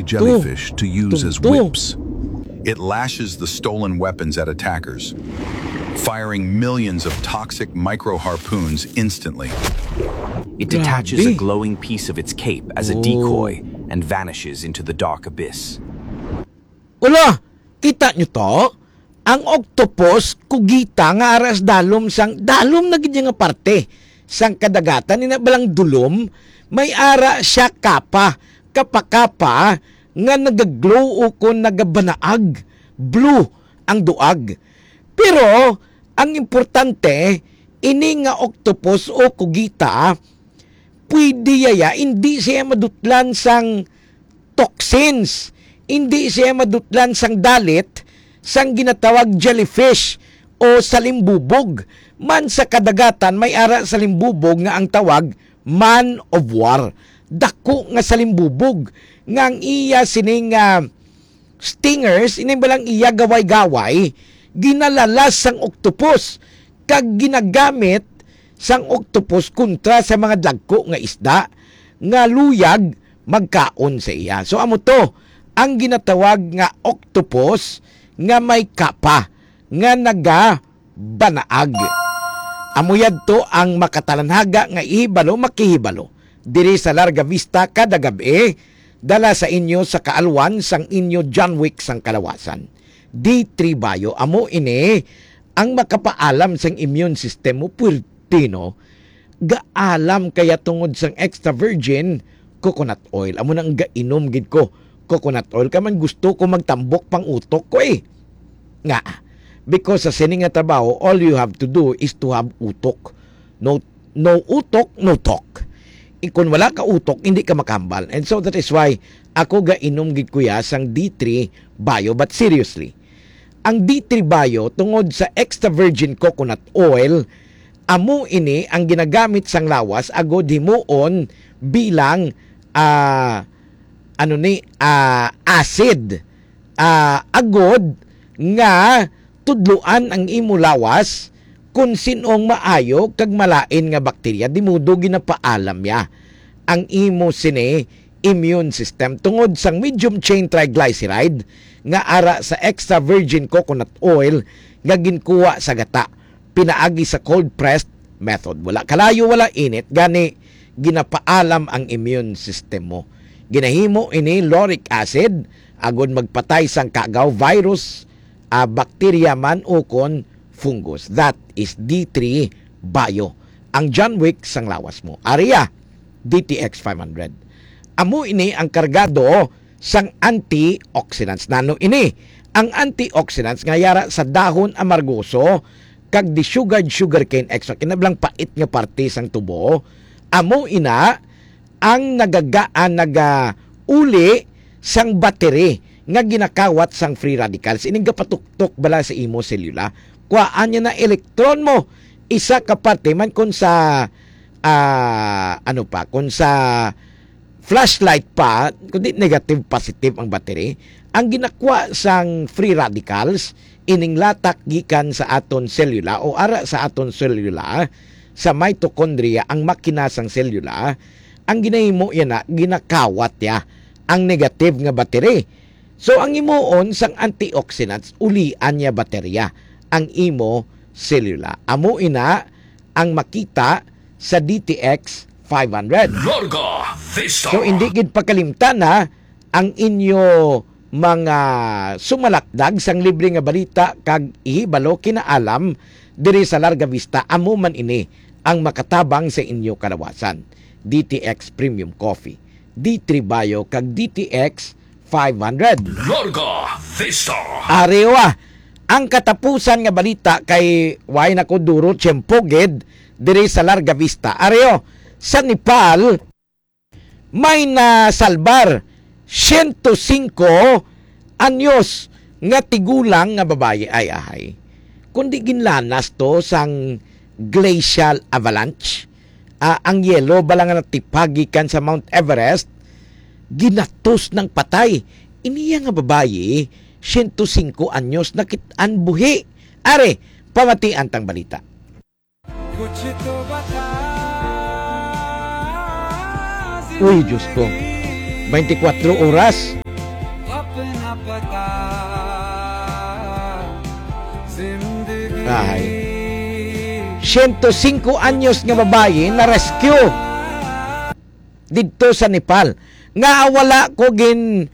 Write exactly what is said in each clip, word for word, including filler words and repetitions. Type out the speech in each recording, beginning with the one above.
jellyfish to use as whips. It lashes the stolen weapons at attackers, firing millions of toxic micro harpoons instantly. It detaches a Grabe. glowing piece of its cape as a Oh. decoy and vanishes into the dark abyss. Wala! Kita nyo to? Ang octopus, kugita nga ara sa dalom sang, dalom na gid niya nga parte sang kadagatan, ina balang dulom, may ara siya kapa, kapa-kapa nga nagaglow o kon nagabanaag, blue ang duag. Pero ang importante, ini nga octopus o kugita, pwede yaya, hindi siya madutlan sang toxins, hindi siya madutlan sang dalit sang ginatawag jellyfish o salimbubog. Man sa kadagatan, may ara salimbubog nga ang tawag man of war. Dako nga salimbubog nga ang iya sining, ah, stingers, ini balang iya gaway-gaway, ginalalas sang octopus, kag ginagamit sang octopus kontra sa mga dagko nga isda nga luyag magkaon sa iya. So, amo to ang ginatawag nga octopus nga may kapa nga naga banaag. Amo yadto ang makatalanhaga nga ihibalo, makihibalo diri sa Larga Vista kada gab-i, dala sa inyo sa kaalwan sang inyo John Wick sang kalawasan. D three Bio, amo ini ang makapaalam sang immune system mo, puwerte, no? Gaalam kaya tungod sang extra virgin coconut oil. Amo nang gainom gid ko coconut oil. Kay man gusto ko magtambok pang utok ko, eh. Nga, because sa sini nga trabaho, all you have to do is to have utok. No, no utok, no talk. Eh, kung wala ka utok, hindi ka makahambal. And so that is why ako gainom gid, kuya, sang D three Bio. But seriously, ang D three Bio, tungod sa extra virgin coconut oil, amo ini ang ginagamit sang lawas agud himuon bilang, ah, ano ni, ah, acid, ah, agud nga tudloan ang imo lawas kon sin-ong maayo kag malain nga bakterya, di modo ginapaalam ya ang imo sini immune system tungod sang medium chain triglyceride nga ara sa extra virgin coconut oil nga ginkuha sa gata pinaagi sa cold pressed method. Wala kalayo, wala init, gani ginapaalam ang immune system mo. Ginahimo ini lauric acid agud magpatay sang kagaw, virus, ah, bakterya man ukon fungus. That is D three Bio, ang John Wick sang lawas mo. Aria, D T X five hundred. Amo ini ang kargado sang antioxidants. Nano ini? Ang antioxidants nga yara sa dahon amargoso kag desugared sugarcane extract, kinablang pait nga parte sang tubo, amo ina ang nagagaan, nagauli sang battery nga ginakawat sang free radicals. Ining gapatuktok bala sa imo selula. Kuhaan niya na electron mo. Isa ka parte man kung sa, ah, ano pa, kung sa flashlight pa, kundi negative, positive ang battery. Ang ginakwa sang free radicals, ining latak gikan sa aton selula o ara sa aton selula, sa mitochondria, ang makina sang selula, ang ginahimo yana, ginakawat ya ang negative nga battery. So, ang himuon sang antioxidants, ulian niya baterya ang imo selula. Amo ina ang makita sa D T X five hundred. Larga Vista. So, hindi gid pakalimtan na ang inyo mga sumalakdag sang libre nga balita kag ihibalo, kinaalam diri sa Larga Vista. Amo man ini ang makatabang sa inyo kalawasan. D T X Premium Coffee, D three Bio, kag D T X five hundred. Larga Vista. Arewa, ang katapusan nga balita kay way na ko duro tiyempo gid diri sa Larga Vista. Areo, sa Nepal, may nasalbar siyento singko anyos nga tigulang nga babayi. Ay, ahay. Kundi ginlanas to sang glacial avalanche, ah, ang yelo bala nga natipag gikan sa Mount Everest, ginatos nang patay. Iniya nga babayi, siyento singko anyos, nakit-an buhi. Are, pamatian tang balita. Uy, Diyos ko. Twenty-four oras. Ay. Siyento singko anyos nga babayi na-rescue didto sa Nepal. Nga wala ko gin,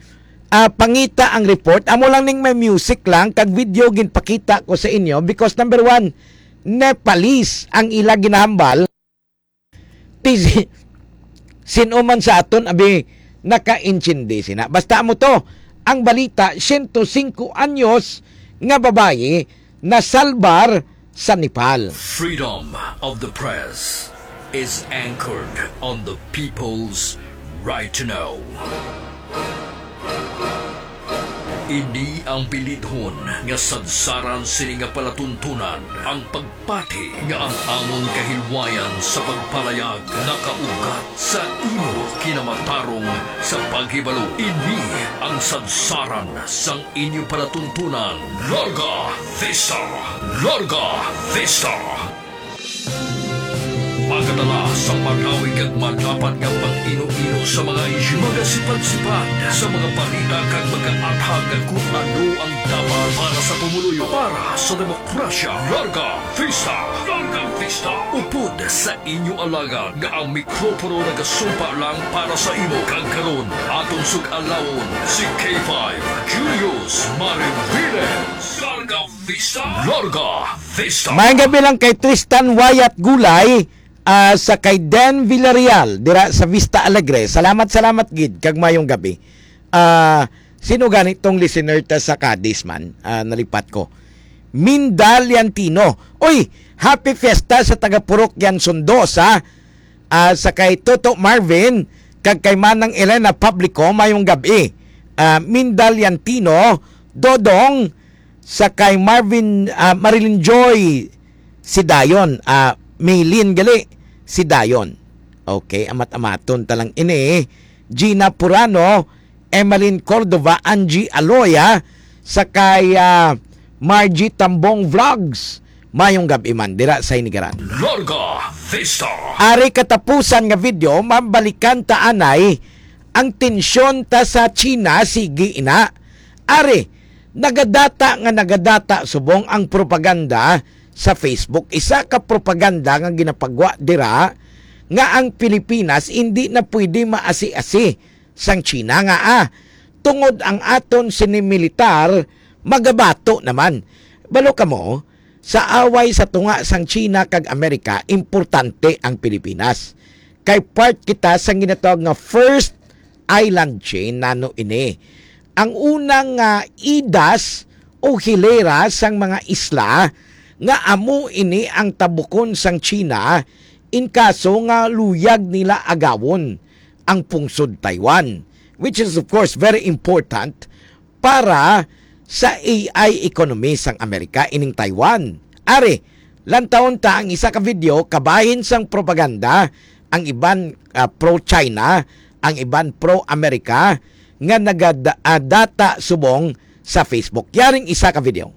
ah, pangita ang report. Amo lang ning may music lang, kag video ginpakita ko sa inyo because, number one, Nepalese ang ila ginahambal. Ti si-, sino man sa aton, abi, nakaintindi sina. Basta amo to, ang balita, siyento singko anyos nga babayi nasalbar sa Nepal. Freedom of the press is anchored on the people's right to know. Ini ang bilidhon nga sadsaran sini nga palatuntunan, ang pagpati nga ang amon kahilwayan sa pagpalayag nakaugat sa imo kinamatarong sa paghibalo. Ini ang sadsaran sang inyo palatuntunan. Larga Vista! Larga Vista! Magadala sa manawig kag madapat nga pag-ino-ino sa mga isyu, magasipad-sipad sa mga balita kag magaathag kon ano ang dapat para sa pumuluyo, para sa demokrasya. Larga Vista! Larga Vista! Upod sa inyo alagad nga ang mikropono nagasumpa lang para sa imo. Kag karon, aton sug-alawon si K five Julius Mariviles. Larga Vista! Larga Vista! Maayong gabi lang kay Tristan Wyatt Gulay, ah, sa kay Den Villarreal dira sa Vista Alegre. Salamat, salamat gid kag maayong gabi. Ah, sino gani tong listener ta sa Cadiz man? Ah, nalipat ko. Minda Liantino. Uy, happy fiesta sa taga Purok Yanson dos, ha? Ah, sa kay Toto Marvin kag kay Manang Elena Publico, maayong gabi. Ah, Minda Liantino, Dodong, sa kay Marvin, ah, Marilyn Joy Sidayon, ah, Maylin gali Sidayon. Okay, amat-amaton ta lang ini. Gina Purano, Emeline Cordova, Angie Aloya, sa kay, ah, Margie Tambong Vlogs. Mayong gabi man dira sa Hinigaran. Larga Vista. Ari katapusan nga video, mabalikan ta anay ang tensyon ta sa China, sige ina. Ari, nagadata nga nagadata subong ang propaganda sa Facebook. Isa ka propaganda nga ginapagwa dira nga ang Pilipinas hindi na pwede maasi-asi sang China nga, ah, tungod ang aton sini militar magabato naman. Balo kamo, sa away sa tunga sang China kag Amerika, importante ang Pilipinas. Kay part kita sang ginatawag nga first island chain. Nano ini? Ang unang, ah, idas o hilera sang mga isla nga amo ini ang tabukon sang China in kaso nga luyag nila agawon ang pungsod Taiwan, which is of course very important para sa A I economy sang Amerika ining Taiwan. Ari, lantawon ta ang isa ka video kabahin sang propaganda, ang iban, ah, pro-China, ang iban pro-Amerika, nga nagada-, ah, data subong sa Facebook. Yaring isa ka video.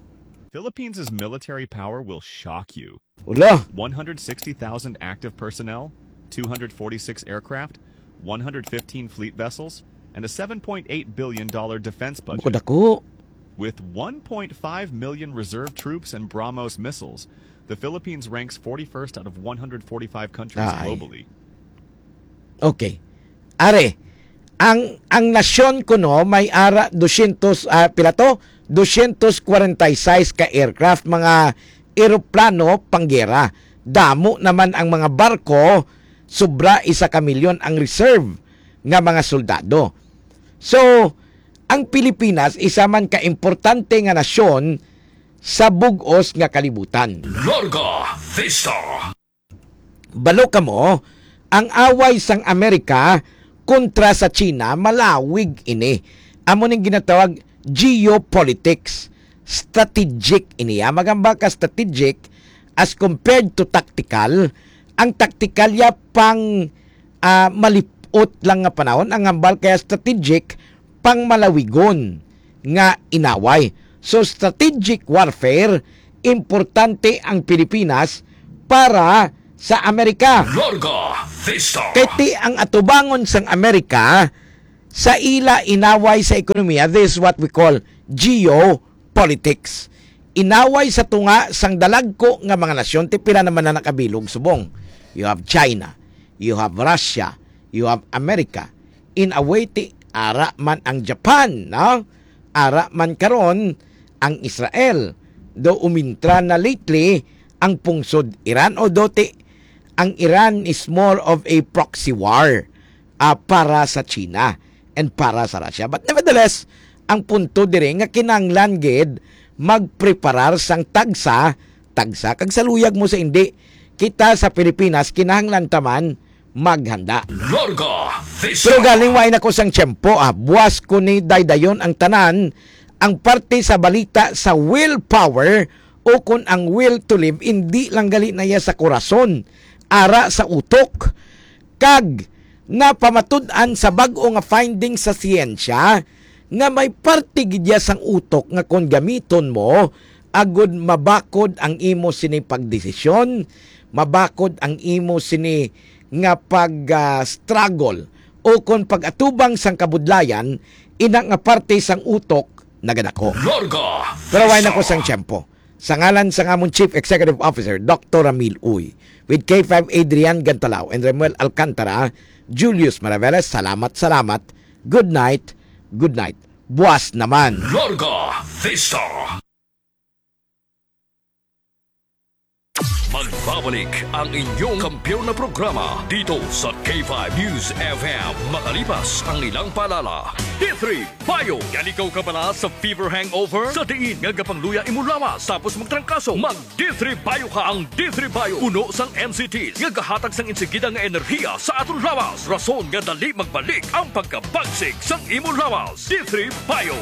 Philippines' military power will shock you. Ulo. One hundred sixty thousand active personnel, two hundred forty-six aircraft, one hundred fifteen fleet vessels, and a seven point eight billion dollar defense budget. Bukod ako. With one point five million reserve troops and BrahMos missiles, the Philippines ranks forty-first out of one hundred forty-five countries Ay. globally. Okay. Are, ang, ang nasyon kuno may ara dosyentos, ah, pila to? Dosyentos kwarenta y seis ka aircraft, mga eroplano panggera. Damo naman ang mga barko, sobra isa ka milyon ang reserve nga mga soldado. So, ang Pilipinas isa man ka importante nga nasyon sa bug-os nga kalibutan. Larga Vista. Balo kamo, ang away sang Amerika kontra sa China malawig ini. Amo ning ginatawag geopolitics. Strategic ini, ah. Magamba ka strategic as compared to tactical. Ang tactical ya pang, ah, malipot lang nga panahon. Ang hambal kaya strategic, pang malawigon nga inaway. So, strategic warfare, importante ang Pilipinas para sa Amerika. Larga Vista. Kay ti ang atubangon sang Amerika, sa ila inaway sa ekonomiya, this is what we call geopolitics. Inaway sa tunga sang dalagko nga mga nasyon, ti pila naman na nakabilog subong. You have China, you have Russia, you have America. In a way, ti ara man ang Japan, no? Ara man karon ang Israel. Do umintra na lately ang pungsod Iran, o do ti ang Iran is more of a proxy war, ah, para sa China and para sa Russia. But nevertheless, ang punto diri nga kinahanglan gid magpreparar sang tagsa, tagsa, kag sa luyag mo sa indi, kita sa Pilipinas kinahanglan ta man maghanda. Larga Vista. Pero galing wain ako sang tiyempo, ah. Buas ko ni daydayon ang tanan, ang parte sa balita sa willpower o kon ang will to live, indi lang gali na iya sa korason, ara sa utok. Kag napamatud-an sa bag-o nga findings sa siyensya nga may parte gid iya sang utok nga kon gamiton mo, agud mabakod ang imo sini pagdesisyon, mabakod ang imo sini nga pag, ah, struggle o kon pag-atubang sang kabudlayan, ina nga parte sang utok nagadako. Larga Pero way na ko Vista. Sang tiyempo. Sa ngalan sang amon Chief Executive Officer, Doctor Ramil Uy, with K five Adrian Gantalao and Remuel Alcantara, Julius Maraveles, salamat, salamat. Good night, good night. Buas naman. Larga Vista. Magbabalik ang inyong kampiyon na programa dito sa K five News F M, makalipas ang ilang paalala. D three Bio. Nalikaw ka bala sa fever hangover? Sa diin nga gapangluya imo lawas tapos magtrangkaso? Mag D three Bio ka. Ang D three Bio puno sang N C Ts nga gahatag sang insigida nga enerhiya sa aton lawas, rason nga dali magbalik ang pagkabagsik sang imo lawas. D three Bio.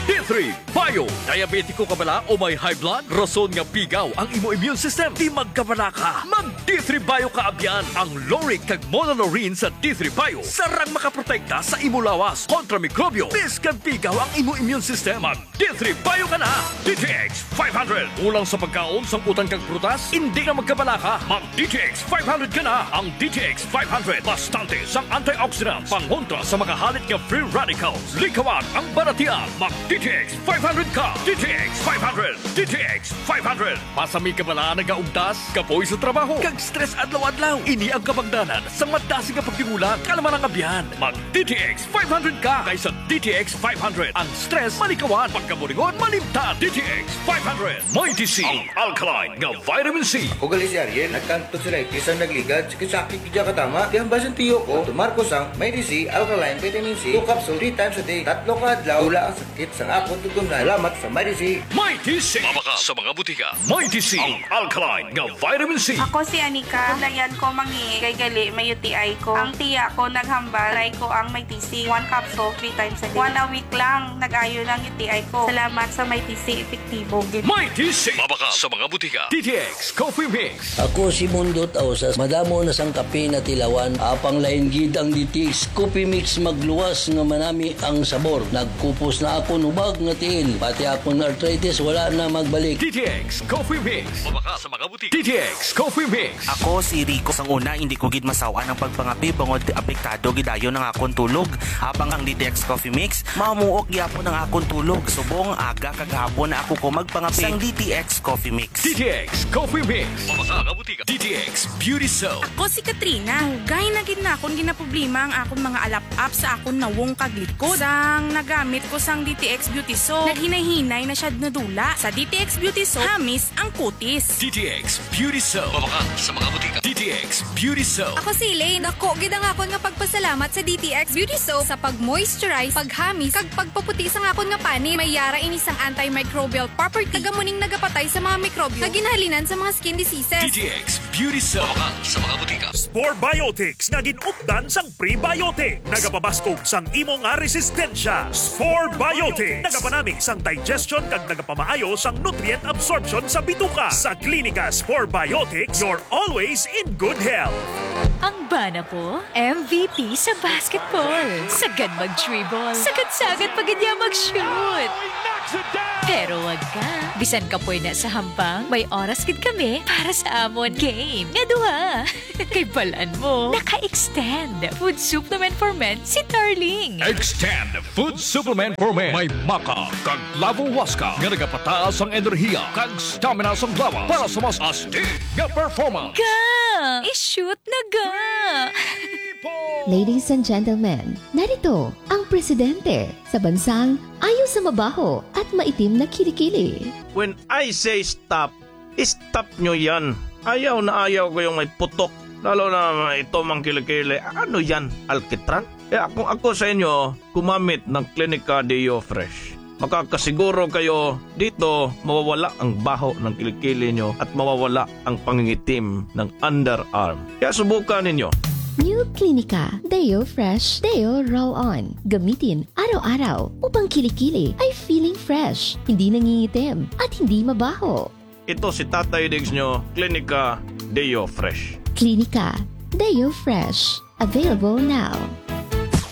D three Bio. Diabetiko ka bala o may high blood? Rason nga pigaw ang imo immune system. Di magkabalaka. Mag D three Bio ka abyan. Ang lauric kag monolaurin sa D three Bio sarang makaprotekta sa imo lawas kontra mikrobyo. Bisan pigaw ang imo immune system, mag D three Bio ka na. D T X five hundred. Kulang sa pagkaon, sang utan kag prutas, indi na magkabalaka. Mag D T X five hundred ka na. Ang D T X five hundred, bastante sang antioxidants, pangontra sa mga halit nga free radicals. Likawan ang balatian. Mag D T X five hundred ka. D T X five hundred. D T X five hundred. Pasami ka bala nagaugtas, kapoy sa trabaho, kag stress adlaw-adlaw? Ini ang kabangdanan sang madasig nga pagdimula, kalma nga abyan. Mag D T X five hundred ka, kay sa D T X five hundred, ang stress malikawan, pagkaburingon malimtan. D T X five hundred, Mighty C, ang alkaline nga vitamin C. Ako gali si Ariel, nagkang tonsillitis ang nagligad, sakit-sakit gid katama. Kaya ang basin tiyo ko, tumar ko sang Mighty C, alkaline vitamin C, two capsule, three times a day, tatlo ka adlaw, wala ang sakit sang akon tutunlan. Salamat sa Mighty C. Mighty C. Mabakal sa mga butika. Mighty C, ang alkaline nga vitamin C. Ako si Anika. Layan ko mangi kay gali may U T I ko. Ang tiya ko naghambal, try ko ang Mighty C. One capsule, three times a day. One a week lang, nag-ayo lang U T I ko. Salamat sa Mighty C, epektibo gid. Mighty C. Mabakal sa mga butika. D T X Coffee Mix. Ako si Mundot Ausas. Madamo na sang kape natilawan. Apang lain gid ang D T X Coffee Mix, magluwas nga manami ang sabor. Nagkupos na akon hubag nga tiil. Pati akon arthritis wala na magbalik. D T X Coffee Mix. Mabakal sa mga butika. D T X Coffee Mix. Ako si Rico. Sang una, hindi ko gid masaw-an ang pagpangape bangod apektado gid dayon ang akon tulog. Habang ang D T X Coffee Mix, mamuok gyapon ang akon tulog. Subong aga kag hapon na ako ko magpangape sang D T X Coffee Mix. D T X Coffee Mix. Mabakal sa mga butika. D T X Beauty Soap. Ako si Katrina. Dugay na gid na akon ginaproblema ang akon mga alap-ap sa akon nawong kag likod. Sang nagamit ko sang D T X Beauty Soap, naghinay-hinay na siya nadula. Sa D T X Beauty Soap, hamis ang kutis. D T X Beauty Soap. Mabakal sa mga butika. D T X Beauty Soap. Ako si Elaine. Dako gid ang akon nga pagpasalamat sa D T X Beauty Soap sa pag-moisturize, paghamis, kag pagpaputi sang akon nga panit. May yara ini sang antimicrobial property, kag amo ning nagapatay sa mga mikrobyo nga ginahalinan sa mga skin diseases. D T X Beauty Soap. Mabakal sa mga butika. Spore Biotics nga gin-updan sang prebiotic. Nagapabaskog sang imo nga resistensya. Spore Biotics. Nagapanami sang digestion kag nagapamaayo sang nutrient absorption sa bituka. Sa Klinika Spore Biotics, you're always in good health. Ang bana ko, M V P sa basketball. Sagad mag-dribble. Sagad-sagad pa gid niya mag-shoot. Pero wag ka. Bisan kapoy na sa hampang, may oras gid kami para sa amon game nga duha. Kay balan mo, naka-extend Food Supplement for Men si Tarling. Extend Food Supplement for Men. May maca kag Lavo Huasca nga nagapataas ang enerhiya kag stamina sang lawas para sa mas astig nga performance. Ga! I-shoot na ga! Ladies and gentlemen, narito ang presidente sa bansang ayaw sa mabaho at maitim na kilikili. When I say stop, stop nyo yan. Ayaw na ayaw ko yung may putok. Lalo na ito mang kilikili. Ano yan? Alkitran? Kaya kung ako sa inyo, gumamit ng Clinica Deo Fresh. Makakasiguro kayo dito mawawala ang baho ng kilikili nyo at mawawala ang pangingitim ng underarm. Kaya subukan ninyo. New Clinica Deo Fresh Deo Roll On. Gamitin araw-araw upang kilikili ay feeling fresh, hindi nangingitim, at hindi mabaho. Ito si Tatay Diggs nyo, Clinica Deo Fresh. Clinica Deo Fresh. Available now.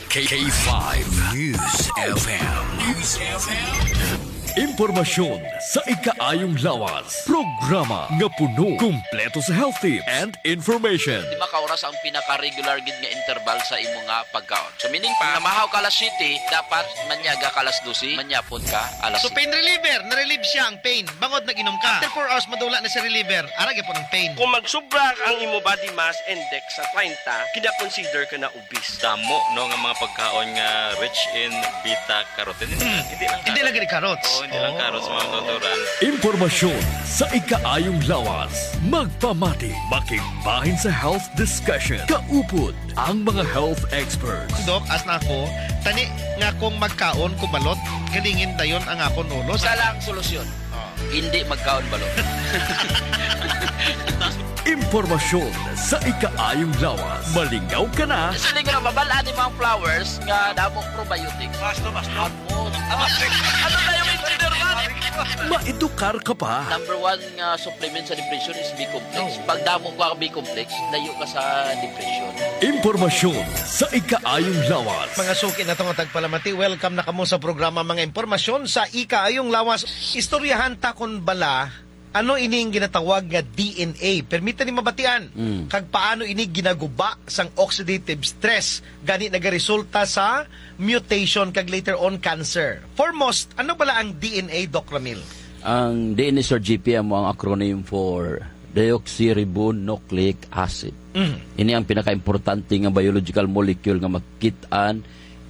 K five News F M. News F M. Impormasyon sa ikaayong lawas. Programa nga puno, kumpleto sa health tips and information. Di makaoras ang pinaka-regular gid nga interval sa imo nga pagkaon. So, meaning pa, namahaw ka alas siyete, dapat manyaga ka alas dose, manyapon ka alas So, pain reliever, na-relieve siya ang pain, bangod nag-inom ka. After four hours, madula na si reliever. Ara gyapon ang pain. Kung magsubra ang imo body mass index sa treinta, kina-consider ka na obese. Damo, no, nga mga pagkaon nga rich in beta carotene. Hindi lang Hindi lang carrots. Hindi lang carrots. Oo, hindi lang carrots, mga Oh. natural. Impormasyon sa ikaayong lawas. Magpamati, makigbahin sa health discussion. Kaupod ang mga health experts. Dok, as na ako, tani nga kung magkaon ko balot, galingin dayon ang akon ulo. Isa lang solusyon. Oh. Hindi magkaon balot. Impormasyon sa ikaayong lawas. Malingaw ka na. Siling nga mabal-an ni mga flowers nga damo probiotics. Basto, basto. Ano? Ano na yung engineer man? Maedukar ka pa. Number one nga supplement sa depression is B-complex. Oh. Pag damo ka B-complex, layo ka sa depression. Impormasyon sa ikaayong lawas. Mga suki na to nga tagpalamati, welcome na kamo sa programa Mga Impormasyon sa Ikaayong Lawas. Istoryahan ta kon bala ano ini ang ginatawag nga D N A. Permita ni mabatian Mm. kag paano ini ginaguba sang oxidative stress, gani nagaresulta sa mutation kag later on cancer. Foremost, ano bala ang D N A, Doc Ramil? Ang D N A, Sir G P, amo ang acronym for deoxyribonucleic acid. Mm. Ini ang pinakaimportante nga biological molecule nga makit-an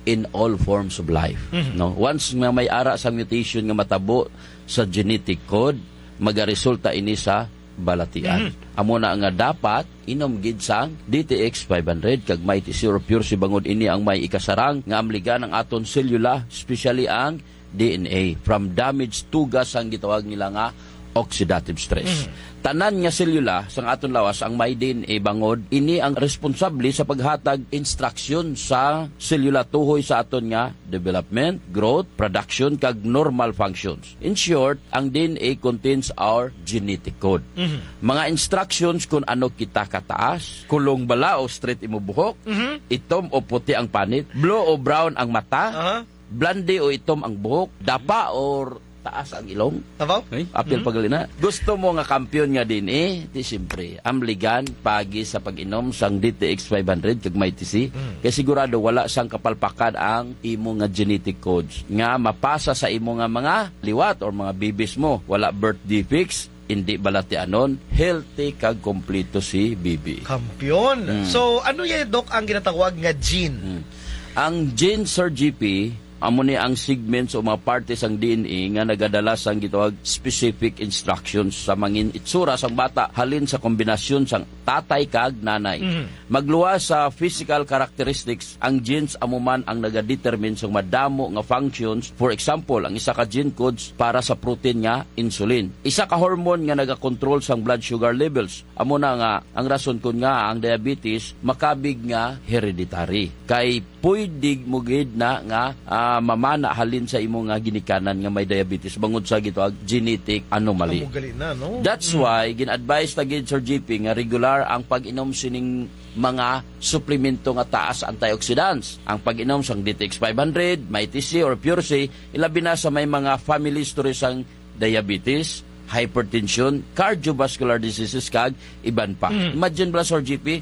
in all forms of life, Mhm. no? Once nga may ara sa mutation nga matabo sa genetic code, magaresulta ini sa balatian. Mhm. Amo na nga dapat inom gid sang D T X five hundred kag Mighty C or Pure C, bangod ini ang may ikasarang nga amligan ang aton selula, especially ang D N A, from damage, tugas sang gitawag nila nga oxidative stress. Mhm. Tanan nga selula sang aton lawas ang may D N A, bangod ini ang responsable sa paghatag instruction sa selula tuhoy sa aton nga development, growth, production, kag normal functions. In short, ang D N A contains our genetic code. Mhm. Mga instructions kung ano kita kataas, kulong bala o straight imo buhok, Mhm. itom o puti ang panit, blue o brown ang mata, Aha. blonde o itom ang buhok, dapa or taas ang ilong. Abaw? Ay? Apil Mhm. pagali na. Gusto mo nga kampiyon nga D N A? Di siyempre, amligan pagi sa pag-inom sang D T X five hundred kag Mighty C. Mm. Kay sigurado wala sang kapalpakan ang imo nga genetic codes nga mapasa sa imo nga mga liwat or mga bibis mo. Wala birth defects, hindi balatianon, healthy kag kompleto si bibi. Kampiyon. Mm. So, ano yan, Doc, ang ginatawag nga gene? Mm. Ang gene, Sir G P, amo ni ang segments o mga parte sang D N A nga nagadala sang gitawag specific instructions sa mangin itsura sang bata halin sa kombinasyon sang tatay kag nanay. Mhm. Magluwas sa physical characteristics, ang genes amo man ang nagadetermine sang madamo nga functions. For example, ang isa ka gene codes para sa protein nga insulin. Isa ka hormone nga nagakontrol sang blood sugar levels. Amo na nga ang rason kon ngaa ang diabetes makabig nga hereditary. Kay pwede mo gid na nga, ah, mamana halin sa imo nga ginikanan nga may diabetes bangod sa gitawag genetic anomaly. Amo gali na, no? That's why gin-advise ta gid, Sir G P, nga regular ang pag-inom sining mga suplemento nga taas antioxidants. Ang pag-inom sang D T X five hundred, Mighty C or Pure C, ilabi na sa may mga family history sang diabetes, hypertension, cardiovascular diseases, kag iban pa. Mm. Imagine bala, Sir G P,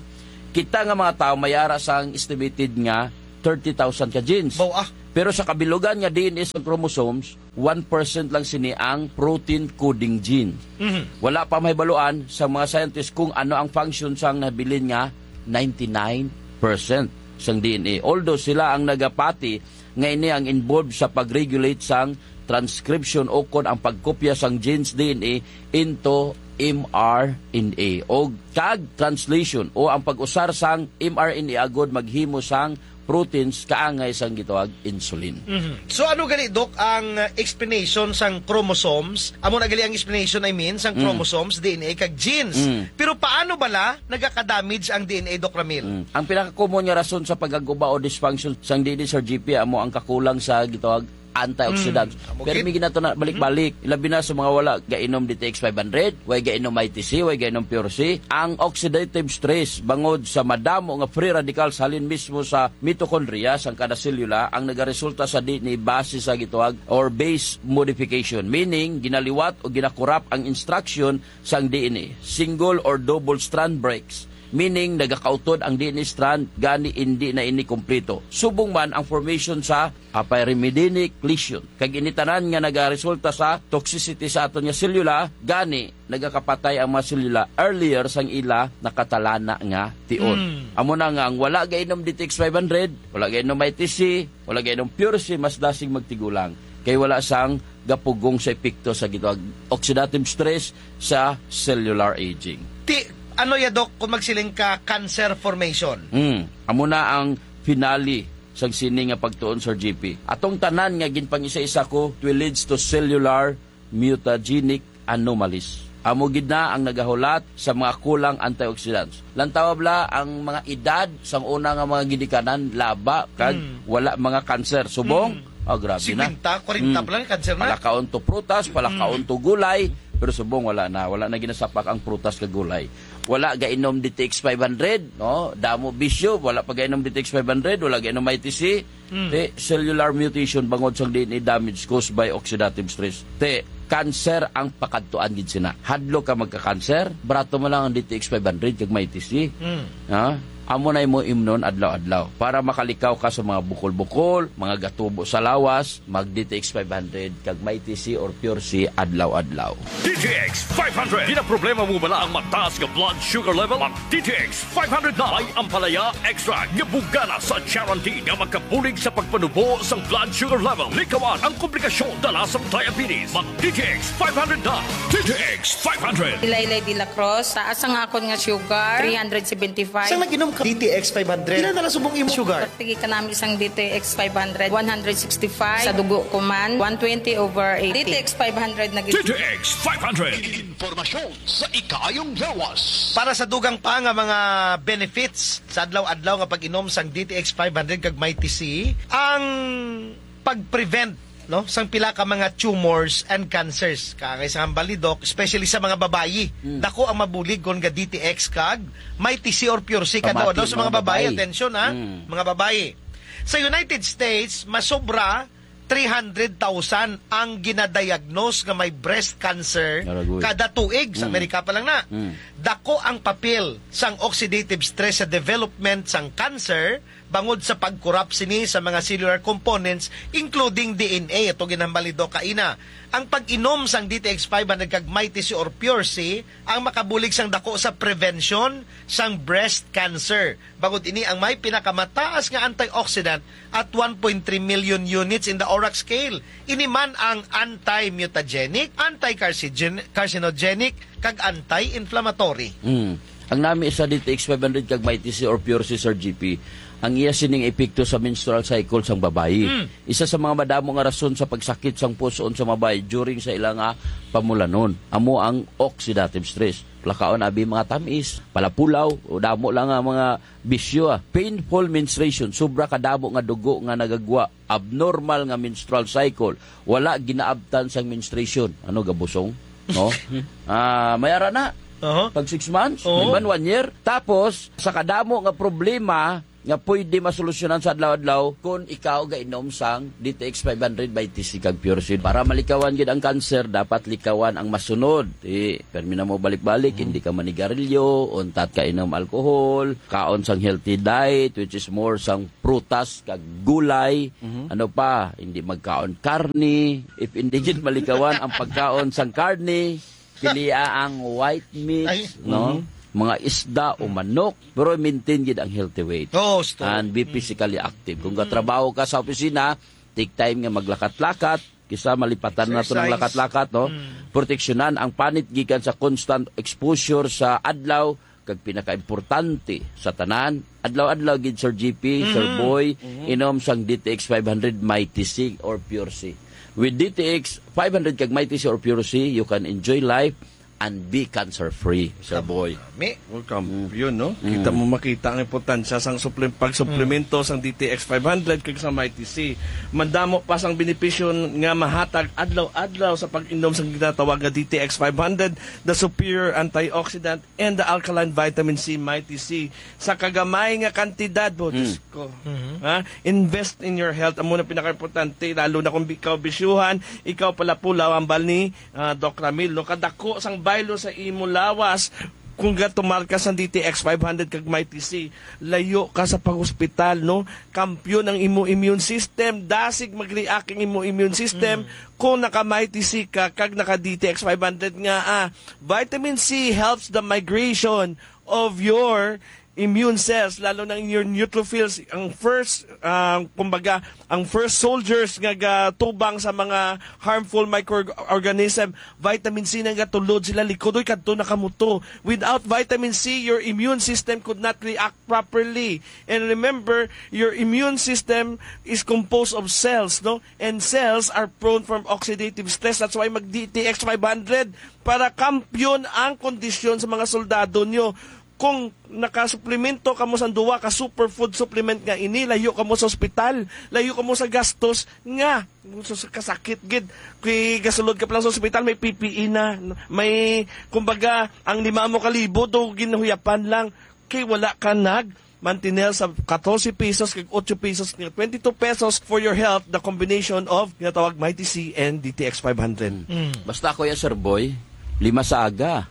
kita nga mga tao may ara sang estimated nga thirty thousand ka genes. Baw, ah. Pero sa kabilugan nga D N A sa chromosomes, one percent lang sini ang protein coding gene. Mhm. Wala pa mahibaluan sa mga scientist kung ano ang function sang nabilin nga ninety-nine percent sang D N A. Although sila ang nagapati nga ini ang involved sa pag-regulate sang transcription o kon ang pagkopya sang genes D N A into M R N A o kag translation o ang pag-usar sang M R N A agod maghimo sang proteins kaangay sang gitawag insulin. Mhm. So, ano gali, Doc, ang, uh, explanation sang chromosomes? Amo na gali ang explanation, I mean, sang Mm. chromosomes, D N A, kag genes. Mm. Pero paano bala nagaka-damage ang D N A, Doc Ramil? Mm. Ang pinaka-common nga rason sa pagkaguba o dysfunction sang D N A, Sir G P, amo ang kakulang sa gitawag antioxidants. Mm. Amo Pero gid. May ginato na balik-balik, ilabi na sa mga wala gainom D T X five hundred, way gainom I T C, way gainom Pure C. Ang oxidative stress bangod sa madamo nga free radicals halin mismo sa mitochondria sang kada selula ang nagaresulta sa D N A base sa gitawag or base modification, meaning ginaliwat o ginakurap ang instruction sang D N A, single or double strand breaks, meaning nagakautod ang D N A strand gani indi na ini kompleto. Subong man ang formation sa apyrimidinic lesion, kag ini tanan nga nagaresulta sa toxicity sa aton nga selula, gani nagakapatay ang mga selula earlier sang ila nakatalana nga tion. Mm. Amo na nga ang wala gainom D T X five hundred, wala gainom I T C, wala gainom Pure C, mas dasig magtigulang kay wala sang gapugong sa epekto sa gitawag oxidative stress sa cellular aging. Ti, ano ya, Doc, kung magsiling ka cancer formation? Hmm. Amo na ang finale sang sini nga pagtuon, Sir G P. Atong tanan nga ginpangisa-isa ko, it will leads to cellular mutagenic anomalies. Amo gid na ang nagahulat sa mga kulang antioxidants. Lantawa bala ang mga edad sang una nga mga ginikanan, laba, kag Mm. wala mga cancer. Subong, Mm. ah, grabe na. Singkwenta, kwarenta Mm. pa lang, cancer na. Palakaon to prutas, palakaon Mm. to gulay, pero subong wala na. Wala na ginasapak ang prutas kag gulay. Wala gainom D T X five hundred, no? Damo bisyo, wala pa gainom D T X five hundred, wala gainom I T C. Mm. Te, cellular mutation bangod sang D N A damage caused by oxidative stress. Te, cancer ang pakadtuan gid sina. Hadlok ka magka-cancer, barato mo lang ang D T X five hundred kag Mighty C. Mm. Ha? Amo na imo imnon adlaw-adlaw. Para makalikaw ka sa mga bukol-bukol, mga gatubo sa lawas, mag D T X five hundred kag Mighty C or Pure C adlaw-adlaw. D T X five hundred. Ginaproblema mo bala ang mataas nga blood sugar level? Mag D T X five hundred na. May ampalaya extract nga bugana sa charantin nga makabulig sa pagpanubo sang blood sugar level. Likawan ang komplikasyon dala sang diabetes. Mag D T X five hundred na. D T X five hundred. Ilaylay de la Cruz, taas ang akon nga sugar, three hundred seventy-five. Sang nag-inom ka D T X five hundred, pila na lang subong imong sugar? Pagtigi ka namin sang D T X five hundred, one hundred sixty-five. Sa dugo ko man, one twenty over eighty. D T X five hundred na gid. D T X five hundred. Impormasyon sa ikaayong lawas. Para sa dugang pa nga mga benefits sa adlaw-adlaw nga pag-inom sang D T X five hundred kag Mighty C, ang pag-prevent, no, sang pila ka mga tumors and cancers. Kaangay sa hambal ni Doc, especially sa mga babayi. Mm. Dako ang mabulig kon ga D T X kag Mighty C or Pure C. Kada Pamati adlaw sa mga mga babayi, babayi. Atensyon, ha? Mm. Mga babayi. Sa United States, masobra three hundred thousand ang ginadiagnose nga may breast cancer Aragoy. Kada tuig. Sa Mm. Amerika pa lang na. Mm. Dako ang papel sang oxidative stress sa development sang cancer bangod sa pagkurap sini sa mga cellular components, including D N A. Ato ginhambal ni Doc kaina. Ang pag-inom sang D T X five hundred kag Mighty C or Pure C ang makabulig sang dako sa prevention sang breast cancer. Bangod ini ang may pinakamataas nga antioxidant at one point three million units in the ORAC scale. Ini man ang anti-mutagenic, anti-carcinogen-, carcinogenic, kag anti-inflammatory. Mm. Ang nami sa D T X five hundred kag Mighty C or Pure C, Sir G P, ang iya sining epekto sa menstrual cycle sang babayi. Mm. Isa sa mga madamo nga rason sa pagsakit sang puson sa babayi during sa ila nga pamulanon amo ang oxidative stress. Lakaon abi mga tamis, palapulaw, o damo lang nga mga bisyo, ah. Painful menstruation, sobra kadamo nga dugo nga nagagwa, abnormal nga menstrual cycle, wala ginaabtan sang menstruation. Ano, gabusong? No? Ah, may ara na. Aha. Pag six months, Oo. Iban one year. Tapos, sa kadamo nga problema nga pwede masolusyonan sa adlaw-adlaw kung ikaw gainom sang D T X five hundred by T C kag Pure Seed. Para malikawan gid ang cancer, dapat likawan ang masunod. Di, permi na mo balik-balik, Mm. hindi ka manigarilyo, untat ka inom alcohol, kaon sang healthy diet, which is more sang prutas kag gulay. Mhm. Ano pa, hindi magkaon karne. If hindi gid malikawan ang pagkaon sang karne, pilia ang white meat, Ay. no? Mhm. Mga isda o manok, pero maintain gid ang healthy weight. Oo, sto. And be Mm. physically active. Kung Mm. katrabaho ka sa opisina, take time nga maglakat-lakat, kisa malipatan nato ng Exercise. lakat-lakat, no? Mm. Proteksyonan ang panit gikan sa constant exposure sa adlaw, kag pinakaimportante sa tanan, adlaw-adlaw gid, Sir G P, Sir Mhm. Boy, Mhm. inom sang D T X five hundred Mighty C or Pure C. With D T X five hundred kag Mighty C or Pure C, you can enjoy life and be cancer-free, Sir Boy. Mi? Welcome. Mm. Yun, no? Mm. Kita mo, makita ang importansya sang suplem-, pagsuplemento sang D T X five hundred kag sa Mighty C. Madamo pa sang benepisyo nga mahatag adlaw-adlaw sa pag-inom sang ginatawag nga D T X five hundred, the superior antioxidant and the alkaline vitamin C, Mighty C, sa kagamay nga kantidad, bo, Hmm. Diyos ko. Mhm. Ha? Invest in your health. Amo na pinakaimportante, lalo na kung ikaw bisyuhan, ikaw pala pulaw, ambal ni, ah, Doc Ramil, no? Kadako sang baylo sa imo lawas, kung gatumar ka sa D T X five hundred kag Mighty C, layo ka sa pag-hospital, no? Kampiyon ang imo immune system, dasig mag-react ang imo immune system Mm. kung naka Mighty C ka kag naka D T X five hundred nga, ah, vitamin C helps the migration of your immune cells, lalo na in your neutrophils, ang first, ah, kumbaga, ang first soldiers nga gatubang sa mga harmful microorganism, vitamin C na gatulod sila likod, oy, kadto na kamo to. Without vitamin C, your immune system could not react properly. And remember, your immune system is composed of cells, no? And cells are prone from oxidative stress. That's why mag D T X five hundred para kampiyon ang kondisyon sa mga soldado nyo. Kung nakasuplemento kamo sa duwa ka superfood supplement nga ini, layo kamo sa ospital, layo kamo sa gastos nga sa kasakit gid. Kay gasulod ka pa lang sa ospital, may P P E na, may, kumbaga, ang lima mo ka libo do ginhuyapan lang kay wala ka nag mantinel sa katorse pesos kag otso pesos nga twenty-two pesos for your health, the combination of ginatawag Mighty C and D T X five hundred. Mm. Basta ako ya, Sir Boy, lima sa aga.